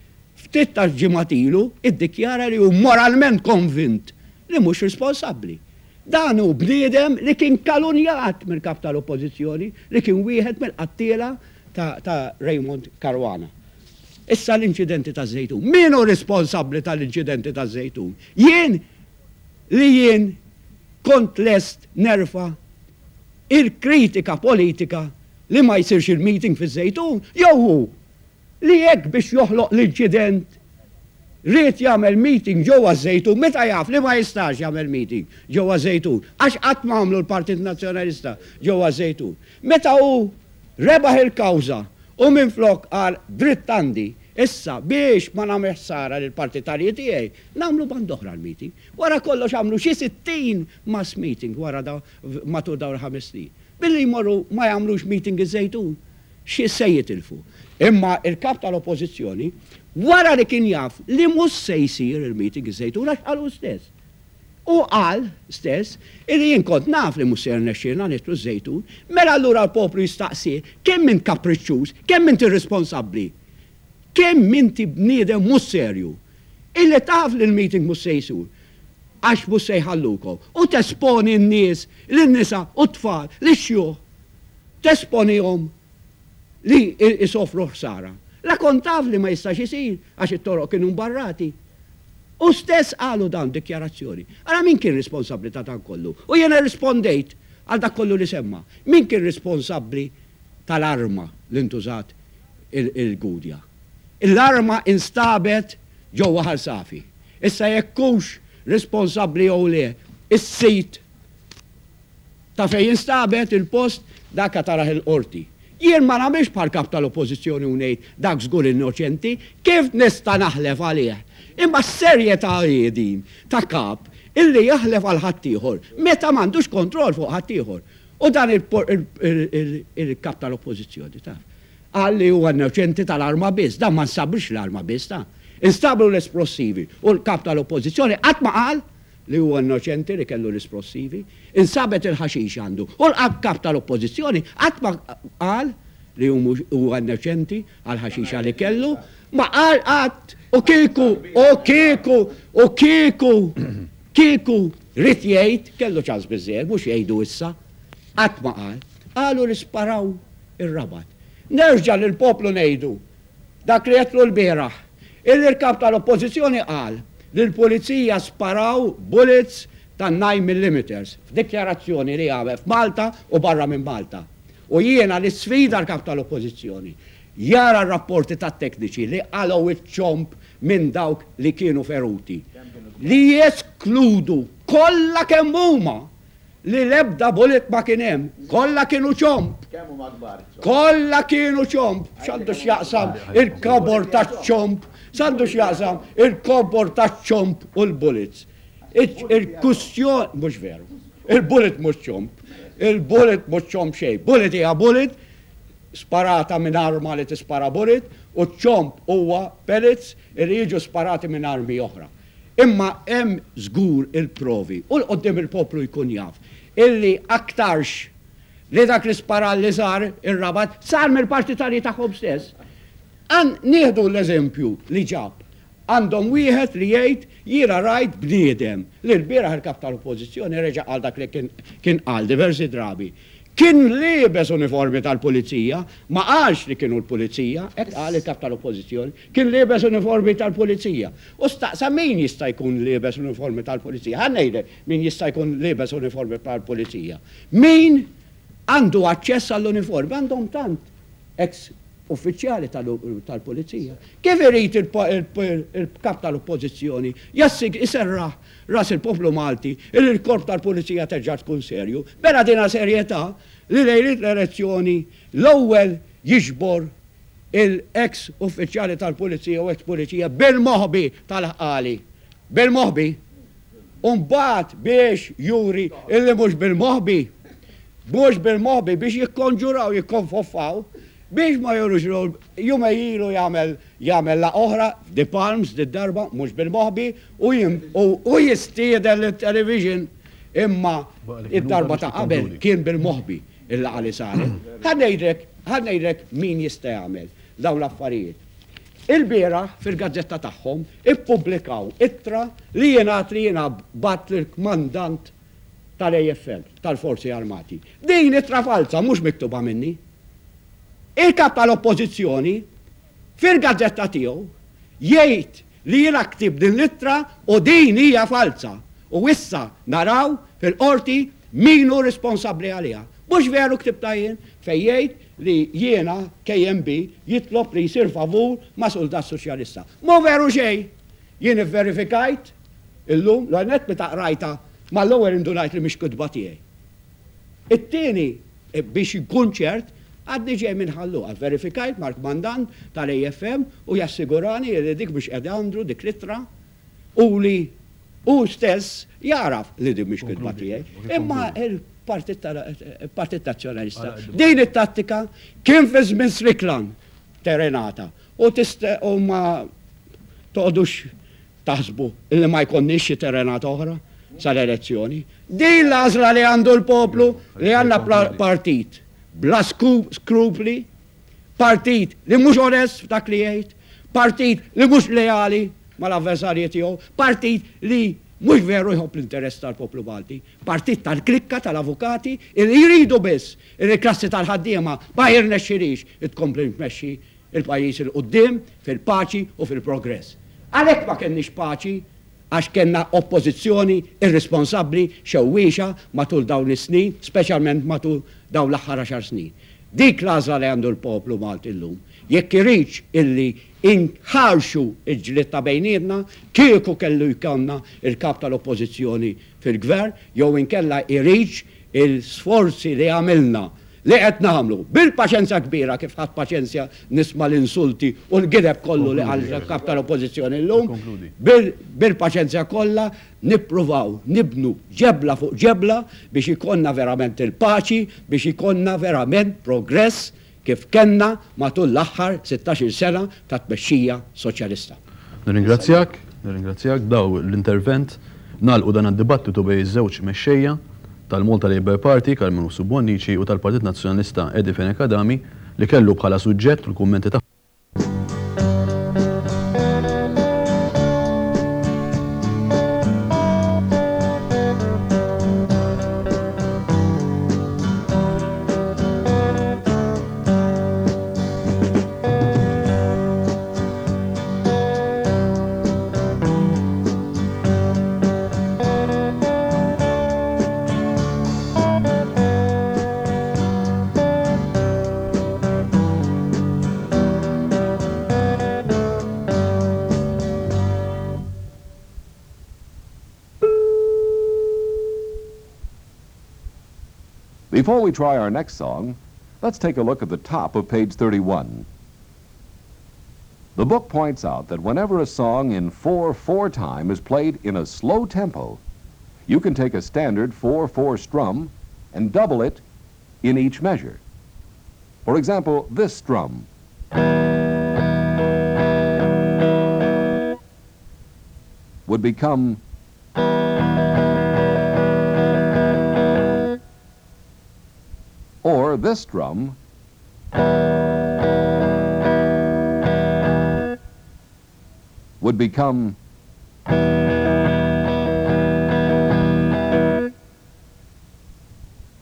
ftit tal-ġimgħat ilu iddikjara li hu moralment konvint li mhux responsabbli. Dan hu bniedem li kien kalunjat mill-Kap tal-Oppożizzjoni li kien wieħed mill-qattiela ta' ta' Raymond Caruana. Issa l-inċidenti taż-Żejtun. Min hu responsabbli tal-inċidenti taż-Żejtun? Jien li jien kont lest nerfa' il-kritika politika li ma jsirx il-meeting fiż-Żejtun jew hu li hekk biex joħloq l-inċident ried jagħmel meeting ġewwa ż-Żejtun meta jaf li ma jistax jagħmel meeting ġewwa ż-Żejtun għax qatt ma għamlu l-Partit Nazzjonalista ġewwa ż-Żejtun. Meta hu rebaħ il-kawża u minflok qal dritt għandi issa biex ma nagħmel ħsara lill-partitarji tiegħi nagħmlu band'oħra l-meeting. Wara kollox għamlu xi 60 mass meeting wara matul dawn il-ħames snin. Billi jmorru ma jagħmlux meeting iż-Żejtun. Xi se jitilfu? Imma il-Kap tal-Oppożizzjoni, wara li kien jaf li mhux se jsir il-meeting iż-Żejtun għax qal hu stess. Hu qal stess illi jien kont naf li mhux se jirnexxielna nidħlu ż-Żejtun, mela allura l-poplu jistaqsi kemm int kapriċċuż, kemm int irresponsabbli, kemm inti bniedem mhux serju, illi taf li l-meeting mhux se jsir għax mhux se jħallukom u tesponi n-nies, lin-nisa u t-tfal, lix-xjuħ. Tesponihom li jsofru ħsara. La kont taf li ma jistax isir għax it-toroq kienu mbarrati. Hu stess qalu dan f'dikjarazzjoni. Ara min kien responsabbli ta' dan kollu? U jiena rrispondejt għal dak kollu li semma. Min kien responsabbli tal-arma li ntużat il-Gudja? L-arma instabet ġewwa Ħal Safi. Issa jekk hux responsabbli jew le is-sid Ta' fejn instabet il-post, dak għad tarah il-Qorti. Jien ma nagħmilx bħal Kap tal-Oppożizzjoni u ngħid dak żgur innoċenti, kif nista' naħlef għalih? Imma x'serjetà hi din ta' Kap illi jaħlef għal ħaddieħor meta m'għandux kontroll fuq ħaddieħor? U dan il-Kap tal-Oppożizzjoni taf. Qal li huwa innoċenti tal-arma biss. Dan ma nstabrix l-arma biss ta. Instabru l-esplossivi u l-Kap tal-Oppożizzjoni qatt ma qal li huwa innoċenti li kellu l-isplossivi, insabet il-ħaxix għandu u l-Kap tal-Oppożizzjoni qatt ma qal li hu mhux huwa innoċenti għall-ħaxixa li kellu, ma qal qatt u kieku u kieku u kieku kieku ried jgħid kellu ċans biżżejjed mhux jgħidu issa. Qatt ma qal. Qalu li sparaw ir-Rabat. Nerġa' lill-poplu ngħidu Dak li għedtlu lbieraħ, illi l-Kap tal-Oppożizzjoni qal li l-Pulizija sparaw bullets ta' 9 millimeters f'dikjarazzjoni li għamel f'Malta u barra minn Malta. U jiena nisfida l-Kap tal-Oppożizzjoni jara r-rapporti tat-tekniċi li qalgħu ċ-ċomb minn dawk li kienu feruti, li jeskludu kollha kemm huma Li l-ebda bullet ma kien hemm. Kollha kienu ċomb. Kemm huma kbar iċ-ċomb? Kollha kienu ċomb. X'għandu x'jaqsam il-kobor taċ-ċomb? X'għandu x'jaqsam il-kobor taċ-ċomb u l-bullets? Il-kustjoni mhux veru. Il-bullet mhux ċomb. Il-bullet mhux ċomb xejn. Bullet hija bullet sparata minn arma li tispara bullet u ċ-ċomb huwa pellets li jiġu sparati minn armi oħra. Imma hemm żgur il-provi, u 'l quddiem il-poplu jkun jaf, illi aktarx li dak l-isparar li sar ir-Rabat sar mill-partitarji tagħhom stess. Għan nieħdu l-eżempju li ġab. Għandhom wieħed li jgħid jiena rajt bniedem li lbieraħ il-Kap tal-Oppożizzjoni reġa' qal dak li kien kien qal diversi drabi. Kien liebes uniformi tal-pulizija, ma qalx li kienu l-pulizija, hekk qal il-Kap tal-Oppożizzjoni, kien liebes uniformi tal-pulizija. U staqsa min jista' jkun liebes uniformi tal-pulizija. Ħa ngħidlek min jista' jkun liebes uniformi tal-pulizija. Min għandu aċċess għall-uniformi, għandhom tant eks uffiċjali tal-pulizija. Kif irid il-Kap tal-Oppożizzjoni jserraħ ras il-poplu Malti li l-Korp tal-Pulizija terġa' tkun serju? Mela dinha serjetà li lejliet l-elezzjoni l-ewwel jiġbor il-eks uffiċjali tal-Pulizija u eks Pulizija bil-moħbi tal-ħqali. Bil-moħbi. U mbagħad biex juri illi mhux bil-moħbi, mhux bil-moħbi biex jikkonġuraw, jikkonfoffaw, biex ma jurux jumej ilu jagħmel jagħmel laqgħa oħra f'The Palms did-darba mhux bil-moħbi u u jistieden lit-television imma id-darba ta' qabel kien bil-moħbi il-laqgħa li saret. Ħa ngħidlek, ħa ngħidlek min jista' jagħmel dawn l-affarijiet. Ilbieraħ fil-gazzetta tagħhom ippubblikaw ittra li jingħad li jiena bgħatt lill-kmandant tal-AFM, tal-Forzi Armati. Din ittra falza mhux miktuba minni. Il-Kap tal-Oppożizzjoni fil-gazzetta tiegħu jgħid li jiena ktibt din l-ittra u din hija falza u issa naraw fil-Qorti min hu responsabbli għaliha. Mhux veru ktibtha jien fejn jgħid li jiena KMB jitlob li jsir favur ma' suldat soċjalista. Mhu veru xejn! Jien ivverifikajt illum, l-ewwel nett meta qrajtha mal-ewwel indunajt li mhix kitba tiegħi. It-tieni, biex inkun ċert, għadni ġej minn Ħal Luqa, vverifikajt mal-kmandant tal-AFM u jassigurani li dik mhix qiegħda għandu dik l-ittra u li hu stess jagħraf li din mhix kitba tiegħi. Imma il-Partit Nazzjonalista din it-tattika kien fi żmien Strickland terenata u u ma toqgħodux taħsbu li ma jkollniex xi terenata oħra sal-elezzjoni. Din l-għażla li għandu l-poplu li għandna partit bla skrupli, partit li mhux onest f'dak li jgħid, partit li mhux leali mal-avversarji tiegħu, partit li mhux veru jħobb l-interess tal-poplu Malti, partit tal-klikka tal-avukati li jridu biss li l-klassi tal-ħaddiema ma jirnexxilhiex tkompli tmexxi l-pajjiż 'il quddiem fil-paċi u fil-progress. Għalhekk ma kellniex paċi għax kellna oppożizzjoni irrisponsabbli, xewwiexa matul dawn is-snin, speċjalment matul dawn l-aħħar għaxar snin. Dik l-għażla li għandu l-poplu Malti llum. Jekk iridx illi inħarxu l-ġlied ta' bejnietna, kieku kellu jkollna l-Kap tal-Oppożizzjoni fil-Gvern, jew inkella jridx il-sforzi li għamilna, li qed nagħmlu, bil-paċenzja kbira kif ħadt paċenzja nisma' l-insulti u l-gideb kollu li qal il-Kap tal-Oppożizzjoni llum, bil-paċenzja kollha nippruvaw nibnu ġebla fuq ġebla biex ikollna verament il-paċi, biex ikollna verament progress kif kellna matul l-aħħar sittax-il sena ta' tmexxija Soċjalista. Nirringrazzjak, nirringrazzjak b'daw l-intervent nagħlqu dan id-dibattitu bejn iż-żewġ mexxejja tal-Malta Labour Party, Karmenu Bonnici, u tal-Partit Nazzjonalista Eddie Fenech Adami li kellu bħala suġġett u l-kummenti tagħhom Before we try our next song, let's take a look at the top of page 31. The book points out that whenever a song in 4-4 time is played in a slow tempo, you can take a standard 4-4 strum and double it in each measure. For example, this strum. Would become or this drum would become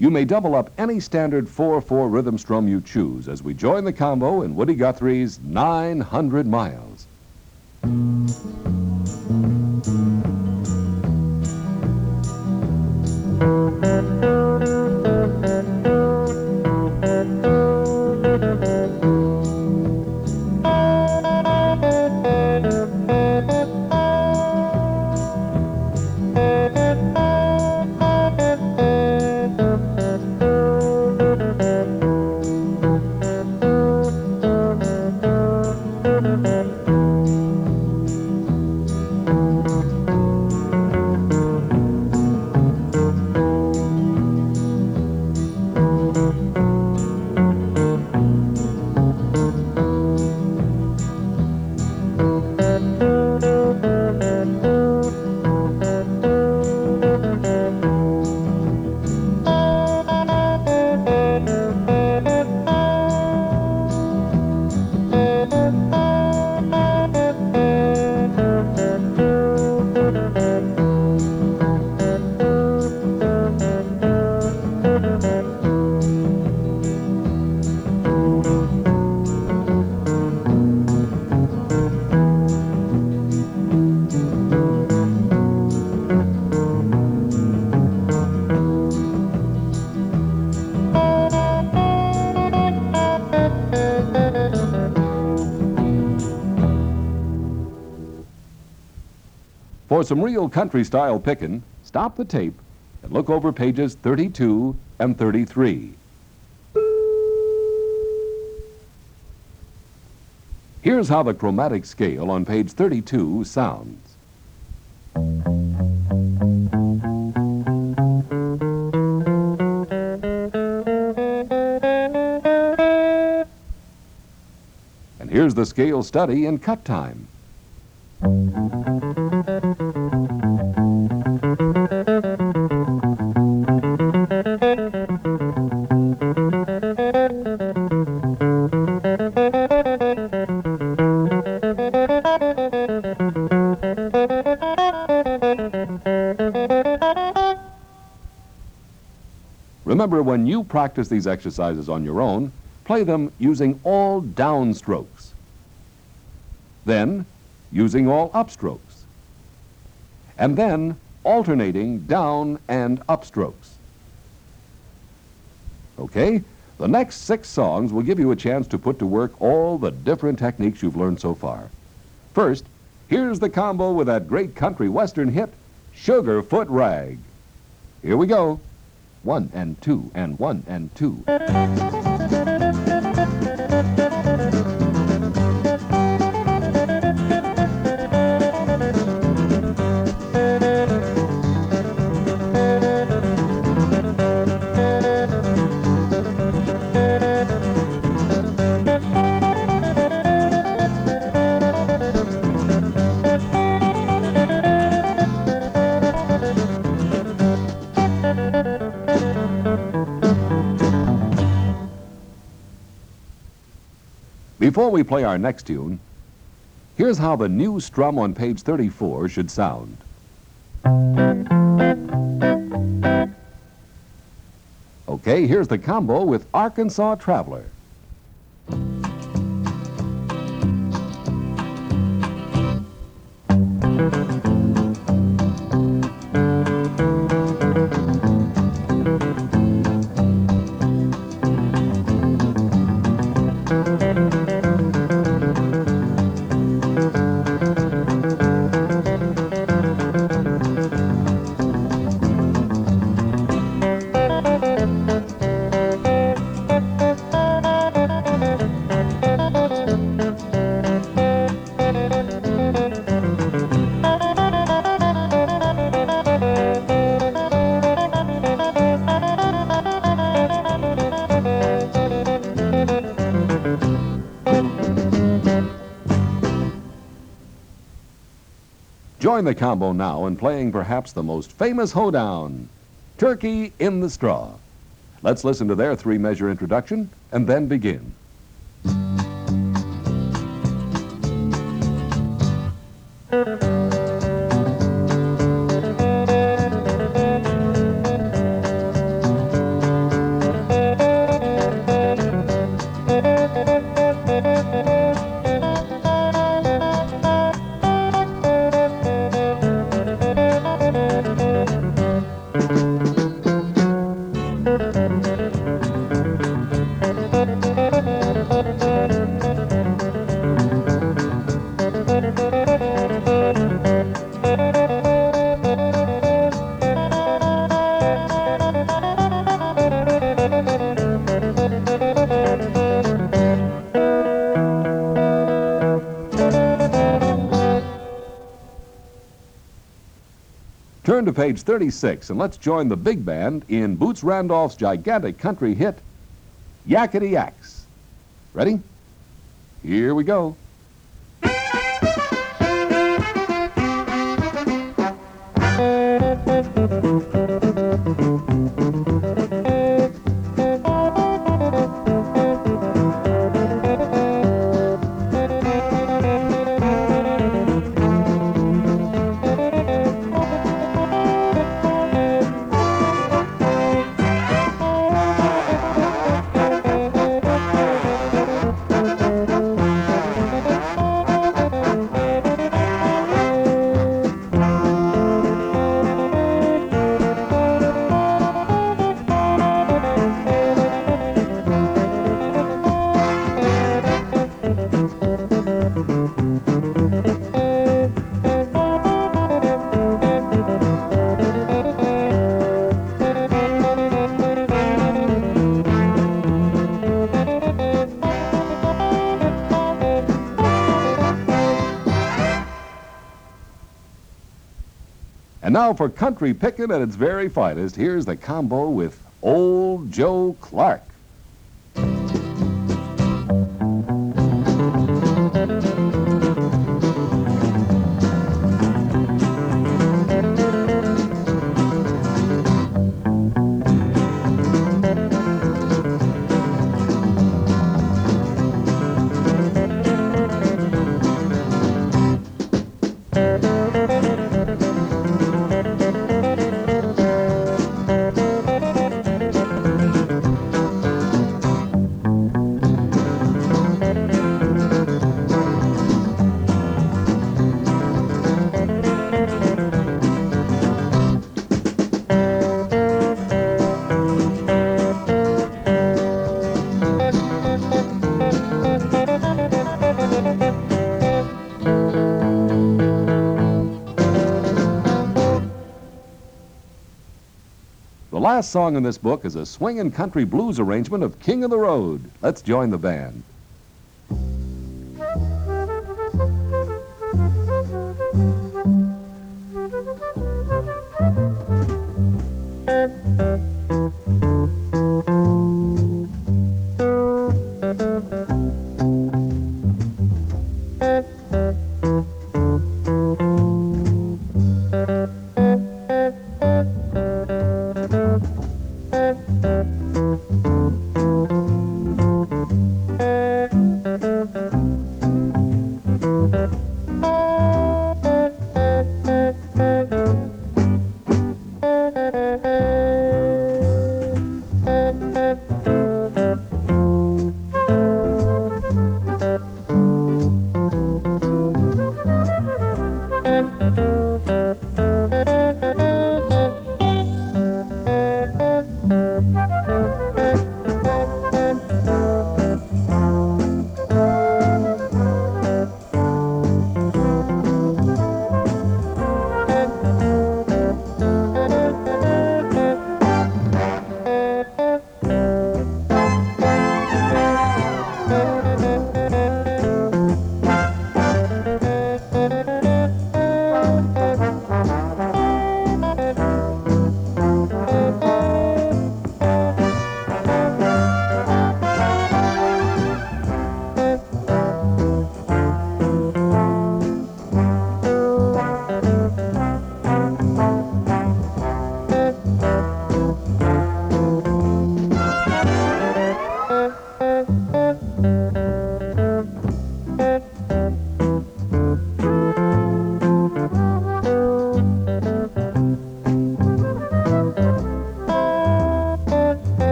You may double up any standard 4-4 rhythm strum you choose as we join the combo in Woody Guthrie's 900 Miles. For some real country style pickin', stop the tape and look over pages 32 and 33. Here's how the chromatic scale on page 32 sounds. And here's the scale study in cut time. Remember, when you practice these exercises on your own, play them using all downstrokes. Then, using all upstrokes. And then, alternating down and upstrokes. Okay, the next 6 songs will give you a chance to put to work all the different techniques you've learned so far. First, here's the combo with that great country western hit, Sugarfoot Rag. Here we go. 1 and 2 and 1 and 2. Before we play our next tune, here's how the new strum on page 34 should sound. Okay, here's the combo with Arkansas Traveler. Join the combo now in playing perhaps the most famous hoedown, Turkey in the Straw. Let's listen to their 3-measure introduction and then begin. Turn to page 36 and let's join the big band in Boots Randolph's gigantic country hit, Yakety Yaks. Ready? Here we go. And now for country pickin' at its very finest, here's the combo with Old Joe Clark. The last song in this book is a swingin' country blues arrangement of King of the Road. Let's join the band.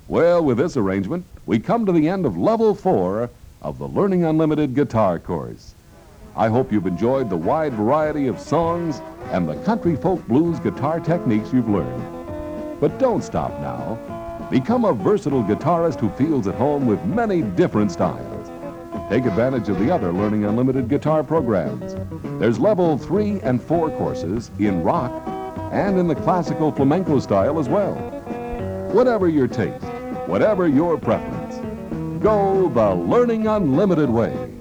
Well, with this arrangement, we come to the end of Level 4 of the Learning Unlimited Guitar Course. I hope you've enjoyed the wide variety of songs and the country folk blues guitar techniques you've learned. But don't stop now. Become a versatile guitarist who feels at home with many different styles. Take advantage of the other Learning Unlimited guitar programs. There's Level 3 and 4 courses in rock and in the classical flamenco style as well. Whatever your taste, whatever your preference, Go the Learning Unlimited way.